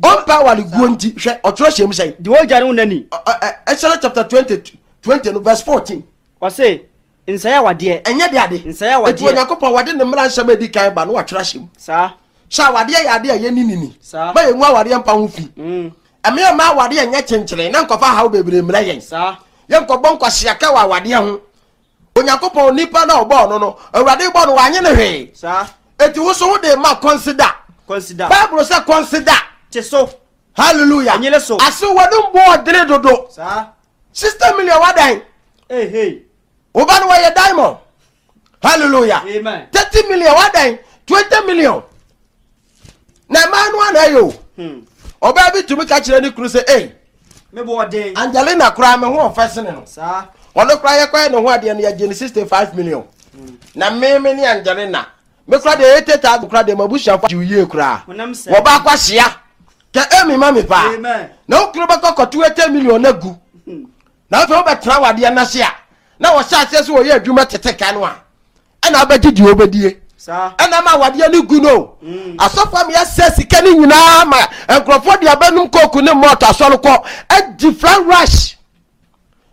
ɔmpɛ aware guo nti hwɛ ɔtwerɛ hyɛ mu sɛn. Deɛ ɔgya ne wo nani. Exodus chapter 20 20 no verse 14. Ɔse nsɛe awadeɛ. Ɛnyɛ de ade. Nsɛe awadeɛ. Eti Onyankopɔn wɔde ne mmara nsɛm a edi kan ba no wɔatwerɛ ahyɛ mu. Saa. Sɛ awadeɛ yɛ ade a yɛni ni ni. Saa. Ma yɛngu awadeɛ mpa ho fi. Mm. Ɛmea mma awadeɛ nyɛ kyenkyene na nkɔfa haw bebree mmerɛ yɛn. Saa. Yɛnkɔbɔ nkwaseaka wɔ awadeɛ ho. Onyankopɔn nipa na ɔbɔɔ no no, Awurade bɔ no wanye no hwee. Saa. Eti wo so wode ma consider. Consider. Bible sɛ consider. Te so. Hallelujah. Enyere so. Ase wɔde mbɔ ɔdene dodo. Saa. 60 million wadan. Hey hey. Wo ba no wɔyɛ diamond. Hallelujah. Amen. 30 million wadan. 20 million. Na mmaa no ana ɛyɛ o. Hmm. Ɔbaa bi tumi ka kyerɛ ne kunu sɛ, "Ei, Me bɔ ɔden. Angelina koraa me ho ɔfɛ sene no. Saa. Ɔno koraa yɛkɔyɛ ne ho adeɛ no yɛgye no 65 million. Na me me ne Angelina me koraa deɛ 80,000 koraa deɛ m'abusuafo agye wo yie koraa. Honam sɛ. Wɔba akwahyia. Kɛ emi ma me paa. Amen. Na wo kunu bɛkɔ kɔto 80 million no agu. Na afei wobɛtena wadeɛ no ase a na wɔhyɛ aseɛ sɛ wɔyɛ adwuma tete ka no a ɛna wobɛgye deɛ wobɛdie. Saa. Ɛna ma awadeɛ no gu no. Asɔfo ama yɛasɛ sika no nyinaa ma nkurɔfoɔ de abɛnom kooku ne mɔɔto asɔre kɔ adi flan rush.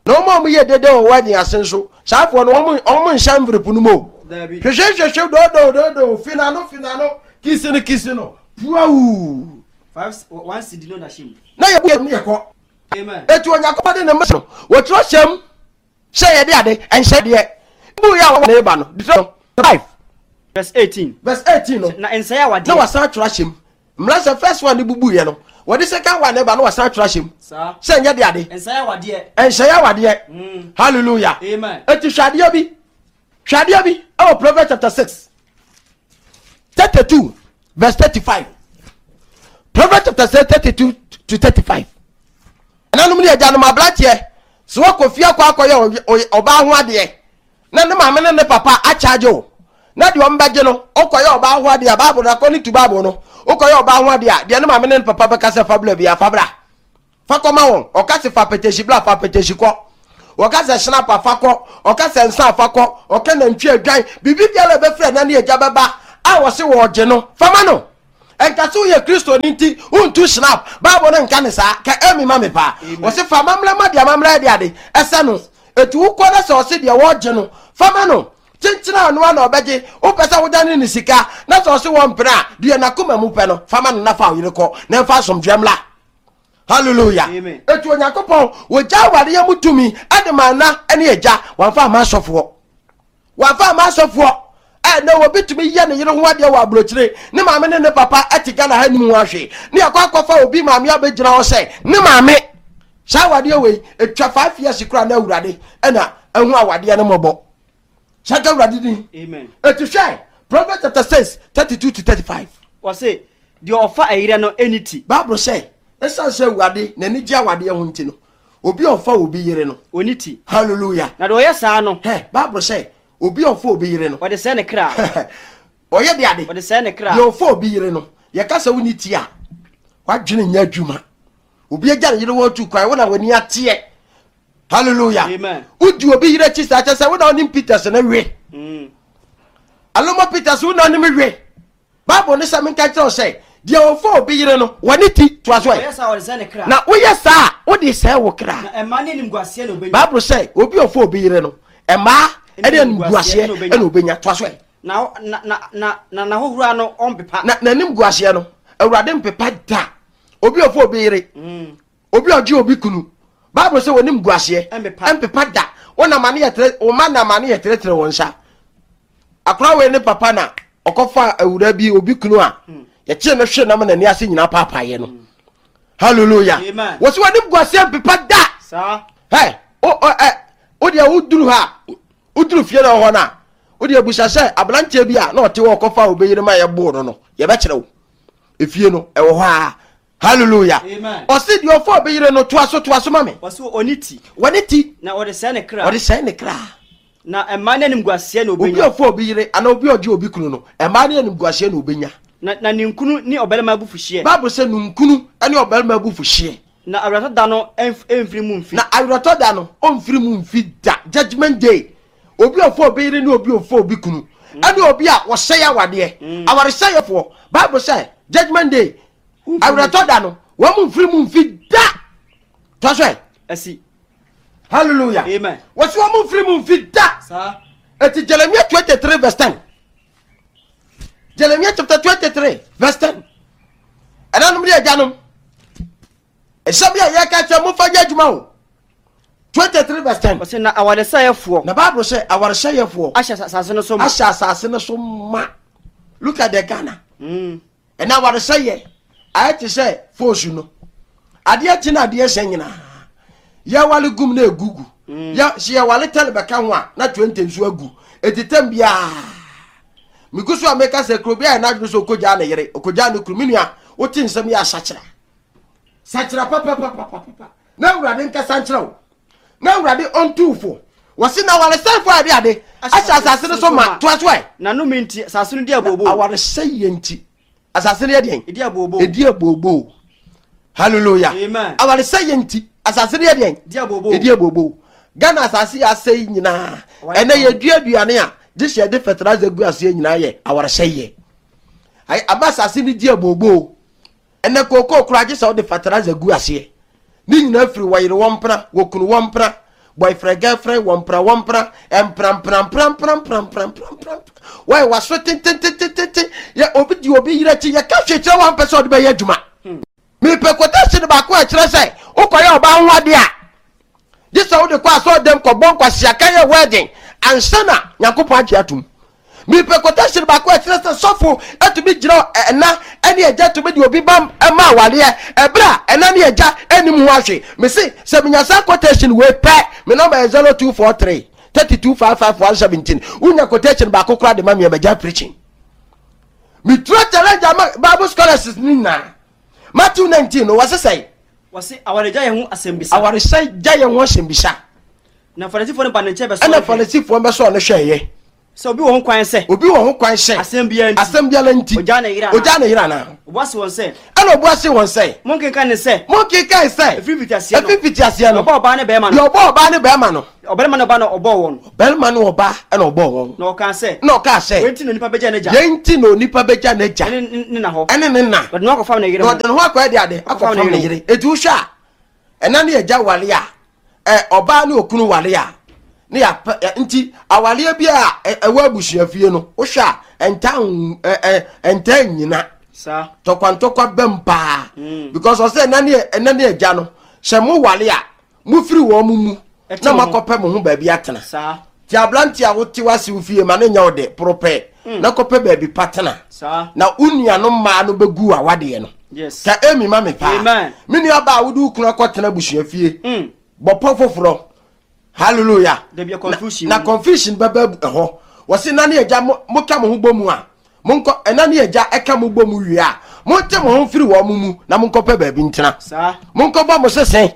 Na wɔn a wɔyɛ dede wɔ wedding ase nso saa afoɔ no wɔn wɔn nhyɛ envelope no mu o. Dabi. Hwehwɛ hwehwɛ dodo dodo fi n'ano fi n'ano kisi no kisi no puawuu. 5 1 cedi no da hyɛ mu. Na yɛ bu yɛ kɔ. Amen. Eti Onyankopɔn de ne mma no wɔtwerɛ hyɛm. Sɛ yɛde ade ɛnhyɛ deɛ bu yɛ a wɔn ba no Deuteronomy 5 Verse 18. Verse 18 no. Na nsɛe awadeɛ. Na wasan atwerɛ ahyɛ mu. Mmara sɛ first one ne bubu yɛ no wɔde second one ba no wasan atwerɛ ahyɛ mu. Sɛ nyɛ de ade. Nsɛe awadeɛ. Nsɛe awadeɛ. Hallelujah. Amen. Eti hwɛ adeɛ bi. Hwɛ adeɛ bi ɛwɔ Proverbs chapter 6 32 verse 35. Proverbs chapter 6 32 to 35. Ɛnanom ne agyanom aberanteɛ sɛ wakɔ fie akɔ akɔyɛ ɔbaa ho adeɛ na ne maame ne ne papa akyagye wo na deɛ ɔmbɛgye no wokɔyɛ ɔbaa ho adeɛ a Bible no according to Bible no wokɔyɛ ɔbaa ho adeɛ a deɛ ne maame ne ne papa bɛka sɛ fa bra bia fa bra fa kɔma wɔn ɔka sɛ fa pɛtɛhyi bra fa pɛtɛhyi kɔ wɔka sɛ hyɛnapa fa kɔ ɔka sɛ nsa fa kɔ ɔka nantwi adwan biribi biara ɛbɛfiri ɛna ne agya bɛba a wɔse wɔgye no fama no Ɛnka sɛ woyɛ Kristoni nti wontu snap. Bible no nka ne saa. Ka Amy ma me paa. Wɔse fa amammerɛ ma deɛ amammerɛ de ade ɛsɛ no. Eti wokɔ na sɛ ɔse deɛ wɔgye no, fa ma no. Kyenkyene a ɔno ara na ɔbɛgye. Wopɛ sɛ wodane ne sika na sɛ ɔse wɔmpene a, deɛ n'akoma mu pɛ no, fa ma no na fa wo yere kɔ na ɛmfa asomdwoeɛ mmra. Hallelujah. Eti Onyankopɔn, wɔgya awareɛ mu tumi de maa na ne agya, wamfa amma asɔfoɔ. Wamfa amma asɔfoɔ. Ɛnɛ obi tumi yɛ ne yere ho adeɛ wɔ aburokyire, ne maame ne ne papa te Ghana ha nim ho ahwee, ne yɛkɔ akɔfa obi maame abɛgyina hɔ sɛ ne maame. Saa awadeɛ wei, ɛtwa 5 years koraa na Awurade ɛna ɛho awadeɛ no mmɔbɔ. Hyɛ nka Awurade din. Amen. Ɛti hwɛ Proverbs chapter 6 32 to 35. Wɔse, deɛ ɔfa ɛyerɛ no ɛni ti. Bible sɛ, ɛsiane sɛ Awurade n'ani gye awadeɛ ho nti no, obi a ɔfa obi yere no. Ɔni ti. Hallelujah. Na deɛ ɔyɛ saa no. Hɛ, Bible sɛ, obi a ɔfa obi yere no. Ɔde sɛe ne kra. Ɔyɛ de ade. Ɔde sɛe ne kra. Deɛ ɔfa obi yere no, yɛka sɛ wonni ti a, wadwene nyɛ adwuma. Obi agya ne yere wɔ tu kwan, wo na w'ani ateɛ. Hallelujah. Amen. Wodi obi yere akyi saa kyɛ sɛ wo na wonim Peters ne we. Aloma Peters wo na wonim we. Bible ne sɛ menka kyerɛ wo sɛ deɛ ɔfa obi yere no wɔne ti toa so ɛ. Na woyɛ saa a wode sɛe wo kra. Bible sɛ obi ɔfa obi yere no mmaa ne animguaseɛ na obɛnya toa so ɛ. Na n'ahohora no ɔmpepa. Na n'animguaseɛ no Awurade mpepa da. Obi ɔfa obi yere obi ɔgye obi kunu Bible sɛ wɔnim guaseɛ ɛmpepa da. Wɔn amane yɛ tere wɔn ma na amane yɛ teretere wɔn nsa. Akora wei ne papa na ɔkɔfa awura bi obi kunu a yɛkyee no hwe nam n'ani ase nyinaa paapaeɛ no. Hallelujah. Wɔsi wɔnim guaseɛ mpepa da. Hɛ o o ɛ o deɛ woduru ha woduru fie na ɔhɔ no a o deɛ busa sɛ aberanteɛ bi a na ɔte hɔ ɔkɔfa obi yere ma yɛboo no no yɛbɛkyerɛ wo efie no ɛwɔ hɔ a. Hallelujah. Ɔsi deɛ ɔfa obi yere no toa so toa so ma me. Ɔsi ɔne ti. Wɔne ti. Na ɔde sɛe ne kra. Ɔde sɛe ne kra. Na mmaa ne animguaseɛ na obenya. Obi a ɔfa obi yere anaa obi a ɔgye obi kunu no, mmaa ne animguaseɛ na obenya. Na na ninkunu ne ɔbarima abufuhyeɛ. Bible sɛ ninkunu ne ɔbarima abufuhyeɛ. Na awerɛtɔ da no ɛmfiri mu mfi. Na awerɛtɔ da no ɔmfiri mu mfi da. Judgment day. Obi a ɔfa obi yere ne obi a ɔfa obi kunu. Ɛne obi a wɔsɛe awadeɛ. Awaresɛefoɔ. Bible sɛ judgment day. Awerɛtɔ da no wɔn mu mfiri mu mfi da. Tɔ so ɛ. Asi. Hallelujah. Amen. Wɔsi wɔn mu mfiri mu mfi da. Saa. Eti Jeremiah 23 verse 10. Jeremiah chapter 23 verse 10. Ɛnanom ne agyanom. Ɛsɛm bi a yɛka kyerɛ momfa nyɛ adwuma o. 23 verse 10. Ɔsɛ na awaresɛefoɔ. Na Bible sɛ awaresɛefoɔ. Ahyɛ asase no so ma. Ahyɛ asase no so ma. Look at the Ghana. Ɛna awaresɛeɛ ayɛ te sɛ foosu no. Adeɛ kye na adeɛ sɛ nyinaa. Yɛwale gum na egugu. Yɛ sɛ yɛwale tɛle bɛka ho a na 20 nso agu. Eti tɛm biara. Megu so a meka sɛ kuro bi ayɛ n'adwene sɛ ɔkɔgyaa ne yere, ɔkɔgyaa ne kunu. Me nua, wote nsɛm yi a sakyera. Sakyera papapapapapa. Na Awurade nkasa nkyerɛ wo. Na Awurade ɔntu wo fo. Wɔse na awaresɛefoɔ a ɛde ade ahyɛ asase no so ma. Toa so ɛ. Na nnome nti asase no di abooboo. Awaresɛeɛ nti asase no yɛ deɛn? Ɛdi abooboo. Ɛdi abooboo. Hallelujah. Amen. Awaresɛeɛ nti asase no yɛ deɛn? Ɛdi abooboo. Ɛdi abooboo. Ghana asase yɛ asɛe nyinaa. Ɛnɛ yɛdua aduane a gye sɛ yɛde fertilizer gu aseɛ nyinaa yɛ awaresɛeɛ. Ama asase no di abooboo. Ɛnɛ kookoo koraa gye sɛ wode fertilizer gu aseɛ. Ne nyinaa firi wɔyere wɔn mpena, wɔkunu wɔn mpena, boyfriend girlfriend wɔn mpena wɔn mpena, mpena mpena mpena mpena mpena mpena mpena mpena. Wɔyɛ waso tententententen. Yɛ obi di obi yere akyi yɛka hwee kyerɛ wɔn ampɛ sɛ ɔde bɛyɛ adwuma. Mepɛ quotation baako a ɛkyerɛ sɛ wokɔyɛ ɔbaa ho adeɛ a. Gye sɛ wode kɔ asɔre dɛm kɔbɔ nkwaseaka yɛ wedding ansa na Nyankopɔn agye atom. Mepɛ quotation baako a ɛkyerɛ sɛ sɔfo tumi gyina ɛna ne agya tumi de obi ba ma awareɛ ɛberɛ a ɛna ne agya nnim ho ahwe. Mese sɛ menya saa quotation wei pɛ, me nɔmba yɛ 0243 32 55 117. Wonya quotation baako koraa de ma me a magya preaching. Metura challenge ama Bible scholars no nyinaa. Matthew 19 no wɔse sɛe. Wɔse awaregya yɛ ho asɛmbisa. Awaregya yɛ ho asɛmbisa. Na Farisifoɔ no ba ne nkyɛn bɛsɔɔ no hwɛɛ. Ɛna Farisifoɔ bɛsɔɔ no hwɛeɛ. Sɛ obi wɔ ho kwan sɛ. Obi wɔ ho kwan sɛ. Asɛm biara nti. Asɛm biara nti. Ogyaa ne yere anaa. Ogyaa ne yere anaa. Obua se wɔn sɛ. Ɛna obua se wɔn sɛ. Monkenkan ne sɛ. Monkenkan sɛ. Ɛfiri mfitiaseɛ no. Ɛfiri mfitiaseɛ no. Deɛ ɔbɔɔ ɔbaa ne barima no. Deɛ ɔbɔɔ ɔbaa ne barima no. Ɔbarima ne ɔbaa na ɔbɔɔ wɔn. Ɔbarima ne ɔbaa na ɔbɔɔ wɔn. Na ɔkaa sɛ. Na ɔkaa sɛ. Wei nti na onipa bɛgya n'agya. Yei nti na onipa bɛgya n'agya. Ɛne ne na hɔ. Ɛne ne na. Na ɔde ne ho akɔfam ne yere ho. Na ɔde ne ho akɔyɛ de ade. Akɔfam ne yere. Eti wohwɛ a, ɛna ne agya ware a, ɛ ɔbaa ne okunu ware a, ne yɛapɛ nti awareɛ bi a ɛwɔ abusuafie no, wohwɛ a ɛntaa ɛ ɛntaa nnyina. Saa. Tɔkwantɔkwa bɛm paa. Mm. Because ɔsɛ ɛna ne ɛna ne agya no, sɛ mo ware a, mofiri wɔn mo mu na moakɔpɛ mo ho baabi atena. Nti aberante a wote w'ase wo fie ma no nyɛ wo de poropɛ mm. na kɔpɛ baabi pa tena. Na wo nuanom mmaa no bɛgu awadeɛ no. Ka emi ma me paa. Me nua baa wode wo kunu akɔtena abusua fie. Mm. Bɔpɔ foforɔ. Hallelujah. Na confusion bɛba ɛhɔ. Wɔse na ne agya moka mo ho bɔ mu a monkɔ ɛna ne agya ɛka mo bɔ mu wie a monte mo ho mfiri wɔn mo mu na monkɔpɛ baabi ntena monkɔbɔ mo sese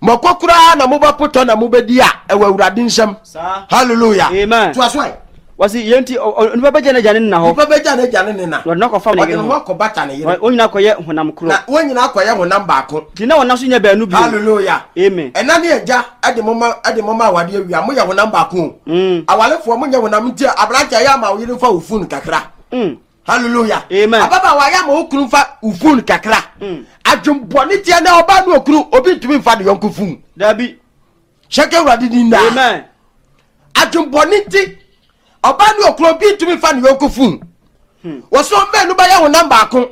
mɔkɔ koraa na mobɛpotɔ na mobɛdi a ɛwɔ awurade nsam hallelujah amen toa so ɛ wɔsi yɛn ti onipa bɛgya n'agya ne ne na hɔ nipa bɛgya n'agya ne ne na na ɔde no akɔfam ne yere ho akɔbata ne yere wɔn nyinaa akɔyɛ honam korɔ na wɔn nyinaa akɔyɛ honam baako nti na wɔn nan so nyɛ baanu bio hallelujah amen ɛna ne agya ɛde mo ma ɛde mo ma awadeɛ wia mo yɛ honam baako o mm. awalefoɔ mo nyɛ honam nti aberante ayɛ ama wo yere nfa wo fon kakra mm. hallelujah amen ababaawa ayɛ ama wo kunu nfa wo fon kakra mm. adwembɔne teɛ na ɔbaa ne okunu obi ntumi nfa ne yɔnko fon dabi hyɛkɛ awurade ni naa amen adwembɔne nti ɔbaa ne okunu obi ntumi nfa ne yɔnko fon hmm. wɔsɛ ɔmɛnu bɛyɛ honam baako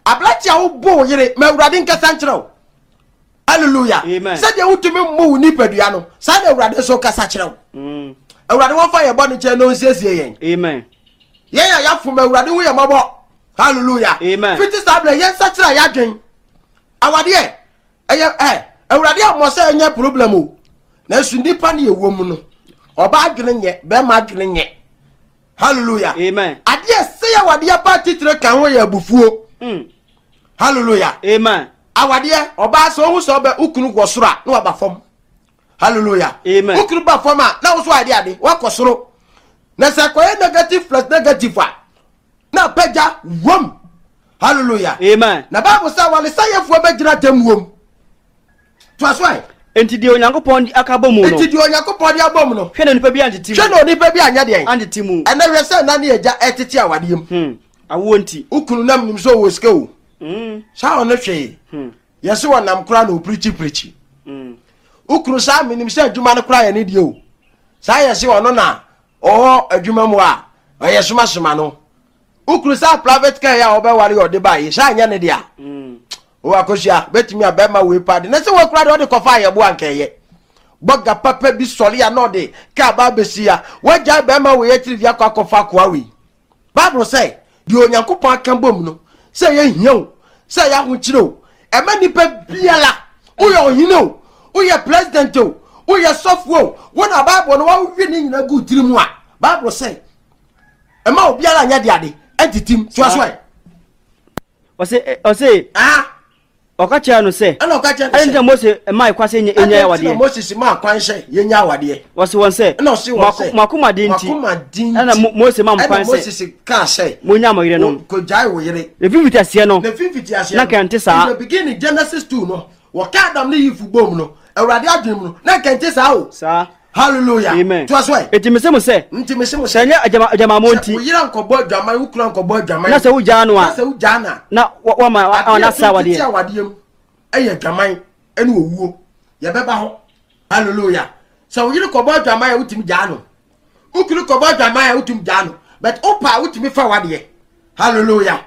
aberante a wobɔ wo yere ma awurade nkasa nkyerɛ wo hallelujah sɛdeɛ wotumi mmu wo nipadua no saa na awurade nso kasa kyerɛ wo mm. awurade wɔmfa yɛ bɔne kyɛ na ɔnsiesie yɛn amen yɛn a yɛafom awurade hu yɛ mmɔbɔ hallelujah amen fiti saa berɛ yɛn nsa kyerɛ yɛadwen awadeɛ ɛyɛ ɛ awurade ammɔ sɛ ɛnyɛ problem o nanso nnipa ne yɛwɔ mu no ɔba adwene nyɛ bɛrima adwene nyɛ hallelujah amen adeɛ sɛ yɛ awadeɛ pa titire ka ho yɛ abufuo mm. hallelujah amen awadeɛ ɔbaa sɛ ɔhu sɛ ɔbɛ wokunu wɔ soro a na waba fam hallelujah amen wokunu ba fam a na woso ade ade wakɔ soro na sɛ kɔyɛ negative plus negative a na apagya wom hallelujah amen na bible sɛ awaresayɛfoɔ bɛgyina tam wom toa so ɛ Enti deɛ Onyankopɔn de aka abɔ mu no. Enti deɛ Onyankopɔn de abɔ mu no. Hwɛ na onipa bi antete mu. Hwɛ na onipa bi anyɛ deɛn. Antete mu. Ɛnɛ hwɛ sɛ na ne agya ɛtete awadeɛ mu. Hmm. Awoɔ nti. Wo kunu nam nim sɛ ɔwɔ sika o. Hmm. Saa ɔno hwee. Hmm. Yɛse wɔnam koraa na ɔpirikyi pirikyi. Hmm. Wo kunu saa menim sɛ adwuma no koraa yɛ ne deɛ o. Saa yɛse ɔno na ɔwɔ adwuma mu a ɔyɛ somasoma no. Wo kunu saa private car yi a ɔbɛware yɛ ɔde baa yi saa nyɛ ne dea. Mm. O akosua bɛtumi a bɛrima wei paa de na sɛ wɔkura deɛ ɔde kɔfa ayɛbo anka ɛyɛ. Bɔga papa bi sɔre a na ɔde kaa ba abɛsi a wagyae bɛrima wei akyiri de akɔ akɔfa akoa wei. Bible sɛ deɛ Onyankopɔn aka bom no sɛ ɛyɛ hia o sɛ ɛyɛ ahokyere o ɛma nipa biara woyɛ ɔhene o woyɛ president o woyɛ sɔfoɔ o wo na Bible no wawe ne nyina gu tiri mu a Bible sɛ ɛma obiara nyɛ de ade ɛntitim toa so ɛ. Ɔse ɔse. Ah. Ɔka kyerɛ no sɛ. Ɛna ɔka kyerɛ no sɛ. Ɛna ntina Mose maa kwan sɛ yɛnya awadeɛ. Ɛna ntina Moses maa kwan sɛ yɛnya awadeɛ. Ɔse wɔn sɛ. Ɛna ɔse wɔn sɛ. Mo akoma den nti. Mo akoma den nti. Ɛna Mose maa mo kwan sɛ. Ɛna Moses kaa sɛ. Monya mo yerenom. Kogyae wo yere. Na fi mfitiaseɛ no. Na fi mfitiaseɛ no. Na nka ɛnte saa. In the beginning Genesis 2 no. Wɔka Adam ne Eve bom no. Awurade adwene mu no. Na nka ɛnte saa o. Saa. Hallelujah. Amen. Toa so ɛ. Enti mese mo sɛ. Nti mese mo sɛ. Sɛ ɛnyɛ agyama agyamammɔ nti. Sɛ wo yere ankɔbɔ adwaman, wo kunu ankɔbɔ adwaman. Na sɛ wogyaa no a. Na sɛ wogyaa no a. Na wama na asa awadeɛ. Adeɛ a awadeɛ mu ɛyɛ adwaman ɛne owuo. Yɛbɛba hɔ. Hallelujah. Sɛ wo yere kɔbɔ adwaman a wotumi gyaa no. Wo kunu kɔbɔ adwaman a wotumi gyaa no. But wopa a wotumi fa wadeɛ. Hallelujah.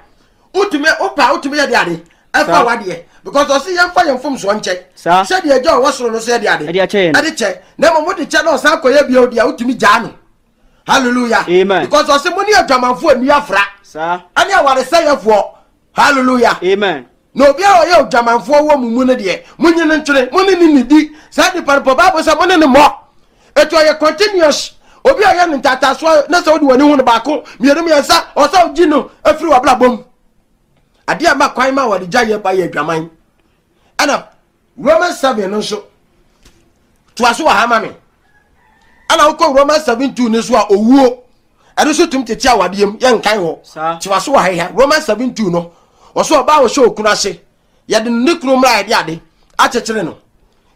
Wotumi wopa a wotumi yɛ de ade. Ɛfa wadeɛ because ɔse yɛmfa yɛn mfomsoɔ nkyɛ sɛdeɛ agya ɔwɔ soro no so ɛde ade ɛde kyɛ na mmom wode kyɛ na ɔsan kɔyɛ bio deɛ wotumi gyaa no. Hallelujah. Amen. Because ɔse mo ne adwamanfoɔ nni afra ɛne awaresɛyɛfoɔ. Hallelujah. Amen. Na obiara a ɔyɛ odwamanfoɔ wɔ mo mu no deɛ, monyi no ntwene, mo ne no nnidi. Saa nipa no pɔ Bible sɛ mo ne no mmɔ. Eti ɔyɛ continuous. Obi a ɔyɛ no ntaataasoɔ na sɛ wode w'ani hu no baako, mmienu, mmiɛnsa, ɔsɛ wogyi no afiri w'abrabɔ mu. Adeɛ a ma kwan ma wɔde gya yɛ ba yɛ adwaman. Ɛna Romans 7 no nso, toa so wɔ ha ma me. Ɛna wokɔ Romans 7 2 no nso a owuo. Ɛno nso tumi tete awadeɛ mu, yɛnkan hɔ. Toa so wɔ ha ha. Romans 7 2 no, ɔso ɔbaa ɔhyɛ okunu ase. Yɛde ne kunu mmra yɛde ade akyekyere no.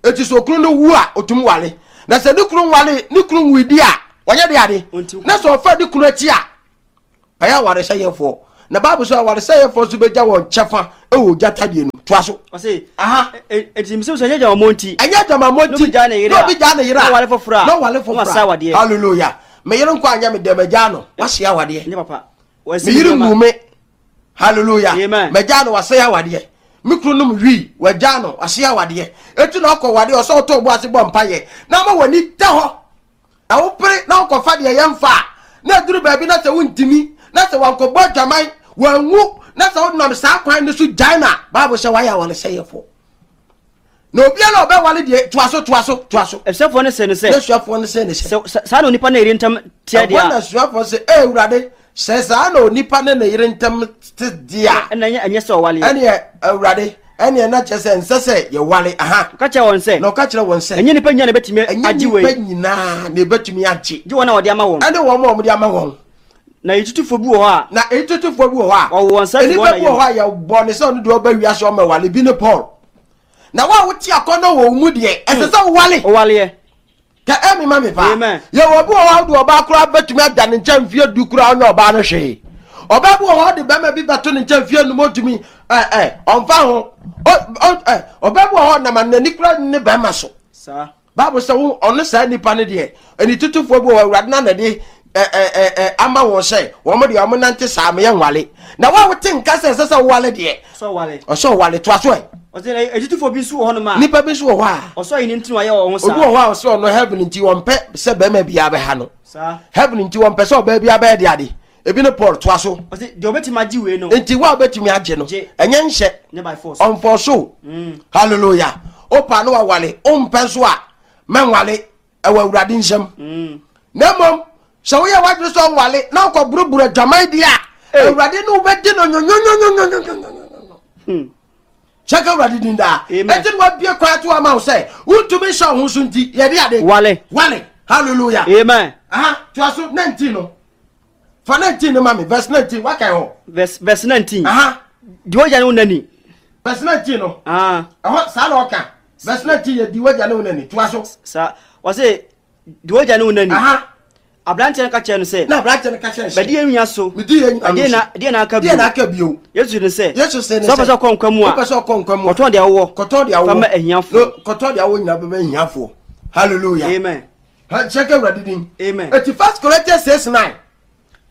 Eti sɛ okunu no wu a, otumi wale. Na sɛ ne kunu nwale, ne kunu nwui di a, wɔnyɛ de ade. Na sɛ ɔfa ne kunu akyi a, Ɛyɛ awaresɛeɛfoɔ. Na Bible sɛ awaresɛeɛfoɔ nso bɛgya wɔn kyɛfa wɔ ogya tadeɛ no mu. Toa so. Ɔse, Aha. Enti mesɛ sɛ ɛnyɛ adwamammɔ nti. Ɛnyɛ adwamammɔ nti. Na obi gyaa ne yere a. Na obi gyaa ne yere a. Na ɔware foforɔ a. Na ɔware foforɔ a. Na wasa awadeɛ. Hallelujah. Me yere nkɔ anyɛ me dɛ magyaa no. Wahye awadeɛ. Ɛnyɛ papa. Me yere ngu me. Hallelujah. Amen. Magyaa no wasɛe awadeɛ. Me kunu nom wii wagyaa no wahye awadeɛ. Eti na ɔkɔ wadeɛ ɔsɛ ɔtɔ ɔbo ase bɔ mpaeɛ. Na ama w'ani da hɔ. Na wopere na wokɔfa deɛ yɛmfa a, na aduru baabi na sɛ wontumi, na sɛ wankɔbɔ adwaman, wanwu, na sɛ wonam saa kwan no so gyae no a, Bible sɛ wayɛ awaresɛeɛfoɔ. Na obiara a ɔbɛwale deɛ, toa so, toa so, toa so. Asuafoɔ no see no sɛ. Na asuafoɔ no see no sɛ. Sɛ saa na onipa ne ne yere ntam teɛ deɛ a. Ɛhɔ na asuafoɔ se, Ee Awurade, sɛ saa na onipa ne ne yere ntam te deɛ a. Ɛnna ɛnyɛ sɛ ɔwaleɛ. Ɛnneɛ Awurade, ɛnneɛ na kyerɛ sɛ ɛnsɛ sɛ yɛwale. Aha. Ɔka kyerɛɛ wɔn sɛ. Na ɔka kyerɛɛ wɔn sɛ. Ɛnyɛ nnipa nyinaa na ɛbɛtumi agye wei. Ɛnyɛ nnipa nyinaa na ɛbɛtumi agye. Gye wɔn a wɔde ama wɔn. Ɛne wɔn a wɔde ama wɔn. Na ayitutufoɔ bi wɔ hɔ a. Na ayitutufoɔ bi wɔ hɔ a. Wɔwoo wɔn saa firi wɔn na yam. Nnipa bi wɔ hɔ a yɛbɔ ne sɛ ɔno deɛ ɔba wiase ɔmmɛwale bi ne Paul. Na wo a wote akɔnnɔ wɔ wo mu deɛ, ɛsɛ sɛ wowale. Wowaleɛ. Ka amen ma me paa. Amen. Yɛwɔ obi wɔ hɔ a wode ɔbaa koraa bɛtumi ada ne nkyɛn mfeɛ du koraa ɔnyɛ ɔbaa no hwee. Ɔbaa bi wɔ hɔ ɔde bɛrima bi bɛto ne nkyɛn mfeɛ num ɔntumi ɛ ɛ ɔmfa ho. Ɔ ɔ ɛ ɔbaa bi wɔ hɔ nam n'ani koraa ne bɛrima so. Saa. Bible sɛ wo ɔno saa nipa no deɛ ɛni tutufoɔ bi wɔ hɔ awurade na na de ɛ ɛ ɛ ɛ ama wɔn sɛ wɔn deɛ wɔn nante saa meyɛ nwale. Na wo a wote nka sɛ ɛsɛ sɛ wowale deɛ Ɔsɛ ɔwale. Ɔsɛ ɔwale toa so ɛ. Ɔsɛ na agyidifo bi nso wɔ hɔnom a. Nipa bi nso wɔ hɔ a. Ɔsɔ ayi ne nti na wayɛ wɔn ho saa. Obi wɔ hɔ a ɔsɛ ɔno heaven nti wɔmpɛ sɛ bɛrima biara bɛha no. Saa. Heaven nti wɔmpɛ sɛ ɔbaa biara bɛyɛ de ade. Ebi ne Paul toa so. Ɔsɛ deɛ ɔbɛtumi agye wei no. Nti wo a wobɛtumi agye no. Gye. Ɛnyɛ nhyɛ. Nyɛ by force. Ɔnfɔ so. Hallelujah. Opa no wawale. Ompɛ nso a mɛnwale. Ɛwɔ Awurade nsam. Na mmom sɛ woyɛ w'adwene sɛ ɔnwale na wokɔboroboro adwaman deɛ a, Awurade ne wobɛdi no nyonyonyonyonyonyonyo. Kyɛ ka Awurade din daa. Enti na wabie kwan ato ama wo sɛ wontumi nhyɛ wo ho so nti yɛde ade. Wale. Wale. Hallelujah. Amen. Aha, toa so 19 no. Fa 19 no ma me. Verse 19, wakan hɔ. Verse, verse 19. Aha. Di w'agya ne wo na ni. Verse 19 no. Ah. Ɛhɔ saa na ɔka. Verse 19 yɛ di w'agya ne wo na ni. Toa so. Saa. Ɔse di w'agya ne wo na ni. Aha. Aberanteɛ no ka kyerɛ no sɛ. Na aberanteɛ no ka kyerɛ no sɛ. Bɛdi yɛn nua so. Medi yɛn nua so. Deɛ na aka bio. Deɛ na aka bio. Yesu ne sɛ. Yesu se ne sɛ. Sɛ wopɛ sɛ ɔkɔ nkwa mu a. Wopɛ sɛ ɔkɔ nkwa mu a. Kɔtɔn deɛ wowɔ. Kɔtɔn deɛ wowɔ. Fa ma ahiafoɔ. Kɔtɔn deɛ wowɔ nyinaa bɛma ahiafoɔ. Hallelujah. Amen. Hyɛ ka Awurade din. Amen. Eti First Corinthians 6 9.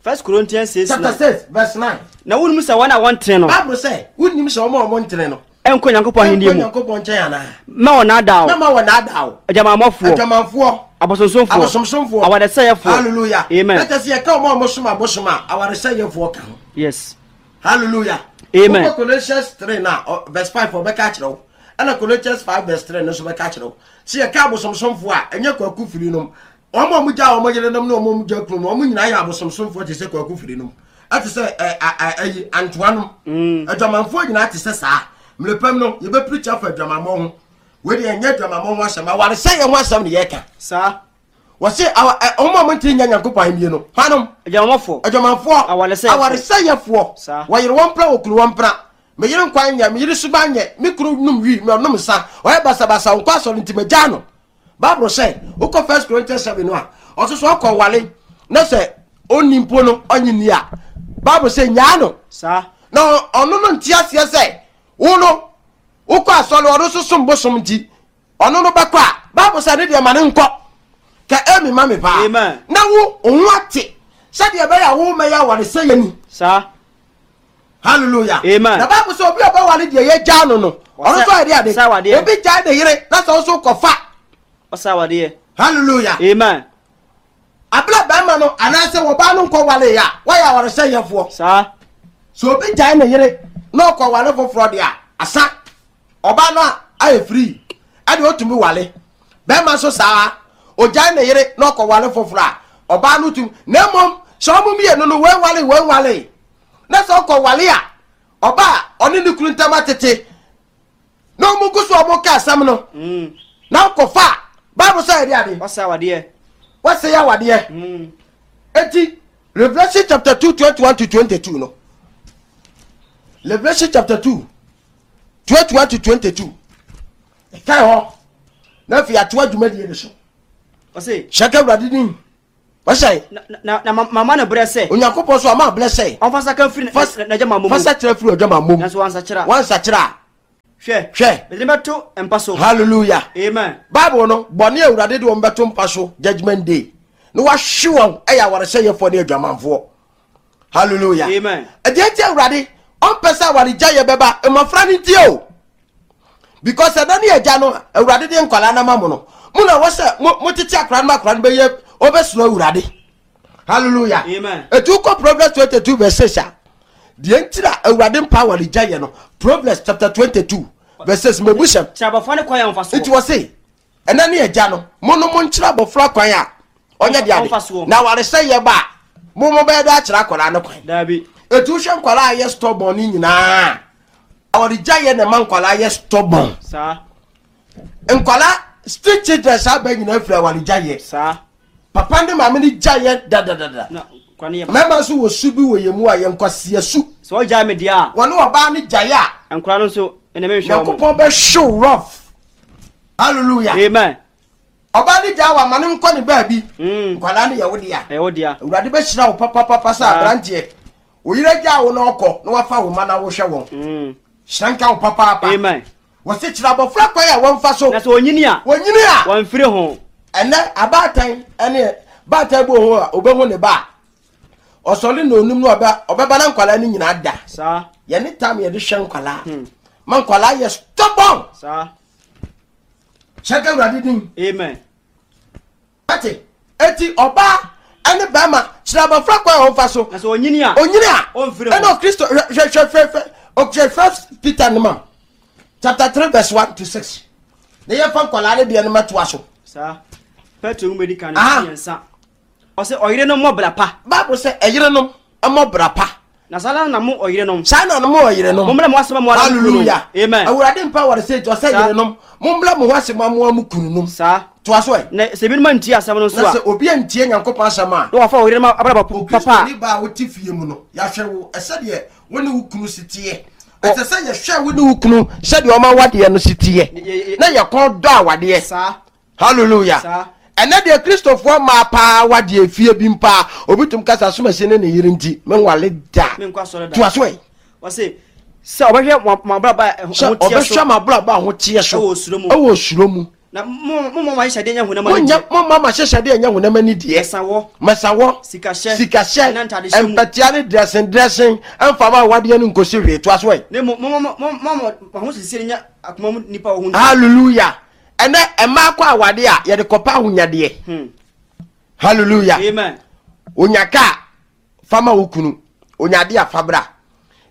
First Corinthians 6 9. Chapter 6 verse 9. Na wonim sɛ wɔn a wɔntene no. Bible sɛ wonim sɛ wɔn a wɔntene no. Ɛnkɔ Nyankopɔn ahenni mu. Ɛnkɔ Nyankopɔn nkyɛn anaa. Mma wɔn naadaa wo. Mma wɔn naadaa wo. Adwamanfoɔ. Adwamanfoɔ. Abosonsomfoɔ. Abosomsomfoɔ. Awaresɛeɛfoɔ. Hallelujah. Amen. Ɛkyɛ sɛ yɛka wɔn a wɔsom abosom a awaresɛeɛfoɔ ka ho. Yes. Hallelujah. Amen. Wokɔ Colossians 3 na verse 5 ɔbɛka akyerɛ wo. Ɛna Colossians 5 verse 3 no nso bɛka akyerɛ wo. Sɛ yɛka abosomsomfoɔ a, ɛnyɛ kwaku firi nom. Wɔn a wɔgya wɔn yerenom ne wɔn a wɔgya kunu no, wɔn nyinaa yɛ abosomsomfoɔ te sɛ kwaku firi nom. Ɛte sɛ ɛ ɛ ɛyi antoa nom. Adwamanfoɔ nyinaa te sɛ saa. Mmerɛ pam no, yɛbɛpirikyi afa adwamammɔ ho. Wei deɛ ɛnyɛ adwamammɔ ho asɛm, awaresɛeɛ ho asɛm na yɛreka. Saa. Wɔse awa ɛ wɔn a wɔntumi nnya Nyankopɔn ahennie no, hwanom? Adwamammɔfoɔ. Adwamanfoɔ. Awaresɛeɛfoɔ. Awaresɛeɛfoɔ. Saa. Wɔyere wɔn mpena, wɔkunu wɔn mpena. Me yere nkwan nyɛ, me yere suban nyɛ, me kunu nom wii, me ɔnom nsa, ɔyɛ basabasa, ɔnkɔ asɔre nti magyaa no. Bible sɛ, wokɔ First Corinthians 7 no a, ɔso so ɔkɔ wale na sɛ ɔnni mpo no ɔnye nni a, Bible sɛ nyaa no. Saa. Na ɔno no nte aseɛ sɛ wo no wokɔ asɔre ɔno nso som bosom nti ɔno no bɛkɔ a, Bible sɛ ne deɛ ma no nkɔ. Ka amen ma me paa. Amen. Na wo wo ho ate sɛdeɛ ɛbɛyɛ a wo mɛyɛ awaresɛeɛ ni. Saa. Hallelujah. Amen. Na Bible sɛ obi a ɔbɛwale deɛ yɛgyaa no no, ɔno nso ayɛ de Ɔsɛ awadeɛ. Obi gyae ne yere na sɛ ɔnso kɔfa. Ɔsɛ awadeɛ. Hallelujah. Amen. Abla bɛrima no anaasɛ wɔbaa no nkɔ wale a, wɔyɛ awaresɛyɛfoɔ. Saa. Sɛ obi gyae ne yere na ɔkɔ wale foforɔ deɛ a, asa. Ɔbaa no a ayɛ free ɛde ɔtumi wale. Bɛrima nso saa, ɔgyae ne yere na ɔkɔ wale foforɔ a, ɔbaa no tumi. Na mmom sɛ ɔmo mmienu no wei wale wei wale na sɛ ɔkɔ wale a, ɔbaa a ɔne ne kunu ntam atete na ɔmo gu so ɔmo ka asɛm no na ɔkɔfa a, Bible sɛ ɛde ade. Wɔsɛ awadeɛ. Wɔsɛ awadeɛ. Eti Revelation chapter 2 21 to 22 no. Revelation chapter 2 21 to 22. Ɛkae hɔ na afei ato adwumadie no so. Ɔse. Hyɛ ka Awurade din. Wɔhyɛ. Na na mama no berɛ sɛ. Onyankopɔn so ama berɛ sɛ. Ɔmfa nsa firi n'adwamammɔ mu. Fa nsa kyerɛ firi adwamammɔ mu. Nanso wansakyera. Wansakyera a. Hwɛ. Hwɛ. Mede no bɛto mpa so. Hallelujah. Amen. Bible no, bɔne a Awurade de wɔn bɛto mpa so judgment day na wahwe wɔn ɛyɛ awaresɛyɛfoɔ ne adwamanfoɔ. Hallelujah. Amen. Ɛdeɛ nti Awurade ɔmpɛ sɛ awaregyaeɛ bɛba mmɔfra no ntie o. Because ɛda ne agya no Awurade de nkwadaa no ama mo no, mo na wɔ sɛ mo tete akwadaa no ma akwadaa no bɛyɛ ɔbɛsoro Awurade. Hallelujah. Amen. Etu kɔ Proverbs 22 verse 6 a, deɛ nti na Awurade mpa awaregyaeɛ no, Proverbs chapter 22 verse 6 mɛbu sɛm. Kyerɛ abɔfra no kwan a ɔmfa soɔ. Nti wɔ se, ɛna ne agya no, mo no mo nkyerɛ abɔfra kwan a ɔnyɛ de ade. Na awaresɛeɛ ba a, mo mo bɛyɛ dɛ akyerɛ akwadaa no kwan. Daabi. Etu hwɛ nkwadaa a yɛ stubborn ne nyinaa, awaregyaeɛ na ɛma nkwadaa yɛ stubborn. Saa. Nkwadaa street children saa bɛɛ nyinaa firi awaregyaeɛ. Saa. Papa ne maame no gyaeɛ dadadada. Mmarima nso wɔ su bi wɔ yɛn mu a yɛn nkwasia su. Sɛ ɔgyae me deɛ a. Wɔne ɔbaa no gyae a. Nkwadaa no nso ɛna menhwɛ wɔn. Nyankopɔn bɛhyew rough. Hallelujah. Amen. Ɔbaa no gyae wɔ ama no nkɔ ne baabi. Nkwadaa no yɛ wo dea. Ɛyɛ wo dea. Awurade bɛhyira wo papapapa sɛ aberanteɛ. Wo yere gyaa wo na ɔkɔ na wafa wo mma na wohwɛ wɔn. Hyira nka wo papaapa. Amen. Wɔsi kyerɛ abɔfra kwan a wɔmfa so. Na sɛ onyini a. Wɔnyini a. Wɔmfiri ho. Ɛnɛ abaatan ɛne baatan bi wɔ hɔ a obehu ne ba a ɔsɔre na onum no ɔbɛ ɔbɛba na nkwadaa no nyinaa da. Saa. Yɛne tam yɛde hwɛ nkwadaa. Ma nkwadaa yɛ stubborn. Saa. Hyɛ ka Awurade din. Amen. Ate eti ɔbaa ɛne bɛrima kyerɛ abɔfra kwan a ɔmfa so. Na sɛ onyini a. Onyini a. Ɔmfiri ho. Ɛna Kristo hwɛ hwɛ hwɛ hwɛ hwɛ First Peter no ma chapter 3 verse 1 to 6. Na yɛmfa nkwadaa no deɛ no mɛtoa so. Saa. Petro nwoma di kan no mmiɛnsa. Ɔsɛ ɔyerenom mmɔ bra pa. Bible sɛ ɛyerenom mmɔ bra pa. Na saa na mo ɔyerenom. Saa na mo ɔyerenom. Mommrɛ mo ase ma mo ara mo kununom. Hallelujah. Amen. Awurade mpa wɔre sɛ nti ɔsɛ yerenom mommrɛ mo ho ase ma mo ara mo kununom. Saa. Toa so ɛ. Na sɛ ebinom antie asɛm no nso Na a. sɛ obi antie Nyankopɔn asɛm a. Na wafa ɔyerenom abrabɔ papa a. Okristoni baa a wote fie mu no, yɛahwɛ wo sɛdeɛ wo ne wo kunu si teɛ. Ɛsɛ sɛ yɛhwɛ wo ne wo kunu sɛdeɛ ɔma wadeɛ no si teɛ. Na yɛkɔn dɔ awadeɛ. Saa. Hallelujah. Saa. Ɛnɛ deɛ Kristofoɔ mmaa paa wadeɛ fie bi mpaa. Obi tum kasa asomasi ne ne yere nti menwale da. Menkɔ asɔre da. Toa so ɛ. Wɔse sɛ ɔbɛhwɛ mo abrabɔ a ɛho Sɛ teɛ so. ɔbɛhwɛ mo abrabɔ a ho teɛ so. Ɛwɔ osuro mu. Ɛwɔ osuro mu. Na mo mo mo ahyehyɛdeɛ nyɛ honam ani deɛ. Mo mo ahyehyɛdeɛ nyɛ honam ani deɛ. Mɛsawɔ. Mɛsawɔ. Sikahyɛ. Sikahyɛ. Ɛna ntadehyɛ mu. Mpɛtea ne dressing dressing. Ɛnfa ma awadeɛ no nkosi hwee. Toa so ɛ. Ne mo mo mo mo mo mo ahosiesie nyɛ akoma mu nipa wɔ ho nti. Hallelujah. Ɛnɛ mmaa kɔ awadeɛ a yɛde kɔpa ahonyadeɛ. Hallelujah. Amen. Onya kaa fa ma wo kunu. Onya adeɛ a fa bra.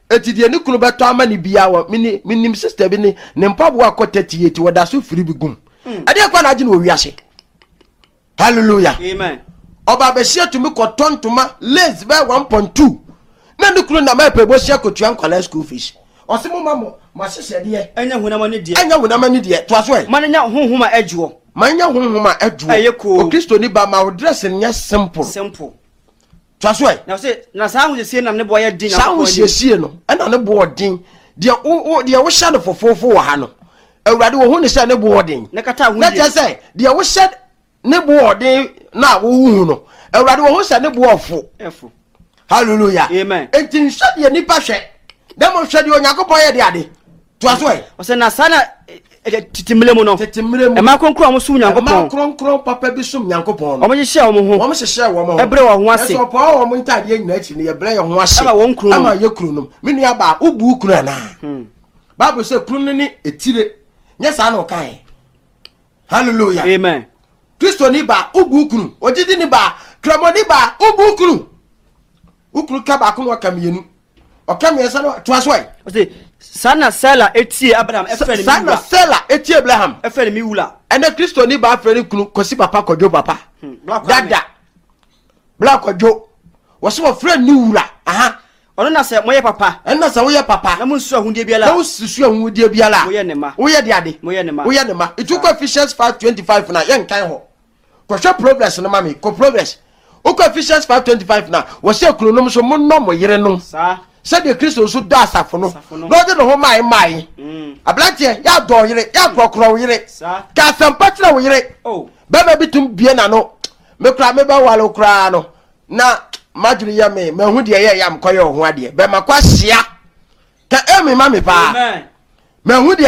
Eti deɛ ne kunu bɛtɔ ama ne bia wɔ mini minim sister bi ne ne mpaboa akɔ 38 wɔda so firi bi gum. Ɛdeɛ kɔ na agye no wɔ wiase. Hallelujah. Amen. Ɔba abɛhyia tumi kɔtɔ ntoma lace bɛyɛ 1.2 na ne kunu nam ɛpɛ bɔhyia kɔtua nkwadaa school fees. Ɔse mo ma mo mo ahyehyɛdeɛ. Ɛnyɛ honam ani deɛ. Ɛnyɛ honam ani deɛ. Toa so ɛ. Ma no nya honhom a ɛdwoɔ. Ma no nya honhom a ɛdwoɔ. Ɛyɛ koo. Okristoni ba ma wo dress nyɛ simple. Simple. Toa so ɛ. Na ɔse na saa ahosiesie nam ne boɔ yɛ den. Saa ahosiesie no ɛna ne boɔ den. Deɛ wo wo deɛ wohyɛ no fofoofo wɔ ha no, Awurade wɔhu ne sɛ ne boɔ den. Na kata ahodie. Na kyerɛ sɛ deɛ wohyɛ ne boɔ den na wohu no, Awurade wɔhu sɛ ne boɔ fo. Ɛfo. Hallelujah. Amen. Enti nhwɛ deɛ nipa hwɛ, na mmom hwɛ deɛ Onyankopɔn yɛ de ade. Toa so ɛ. Ɔsɛ na saa na Tete mmerɛ mu no. Tete mmerɛ mu. Mmaa kronkron a wɔsom Mmaa Nyankopɔn. kronkron papa bi som Nyankopɔn no. Wɔhyehyɛɛ wɔn ho. Wɔhyehyɛɛ wɔn ho. Ɛbrɛ wɔn ho ase. Nanso wɔpɔɔ wɔn ntaadeɛ nyinaa akyi no, yɛbrɛ yɛn ho ase. Ɛma wɔn kununom. Ɛma yɛn kununom. Me nua baa, wobu wo kunu anaa? Bible sɛ kunu no ne etire. Nyɛ saa na ɔkae. Hallelujah. Amen. Kristoni baa, wobu wo kunu. Ogyidini baa, Kramoni baa, wobu wo kunu. Wo kunu ka baako na waka mmienu. Ɔka mmiɛnsa no toa so ɛ. Ɔse saa na Sela etie Abraham ɛfrɛ ne mi wura. Saa na Sela etie Abraham. Ɛfrɛ ne mi wura. Ɛnɛ Kristoni baa frɛ ne kunu Kwasi papa Kwadwo papa. Dada. Bla Kwadwo. Wɔse wɔfrɛ ne wura. Aha. Ɔno na sɛ moyɛ papa. Ɛno na sɛ woyɛ papa. Na monsusu ahudeɛ biara. Na wosusu ahudeɛ biara. Moyɛ ne ma. Woyɛ de ade. Moyɛ ne ma. Woyɛ ne ma. Itu kɔ Ephesians 5:25 na yɛnkan hɔ. Kɔhwɛ Proverbs no ma me. Kɔ Proverbs. Wokɔ Ephesians 5:25 na wɔsɛ kununom nso monnɔ mo yerenom. Saa. Sɛdeɛ Kristo nso dɔ asafo no. Asafo no. Na ɔde ne ho mae mae. Aberanteɛ, yɛ adɔ wo yere, yɛ akorɔkorɔ wo yere. Saa. Ka asɛmpa kyerɛ wo yere. Oh. Bɛrima bi tum bie n'ano. Me koraa mebɛwale wo koraa no. Na madwene yɛ me, mahu deɛ ɛyɛ yam kɔyɛ wo ho adeɛ. Bɛma kɔ ahyia. Ka amen ma me paa. Amen. Mahu deɛ.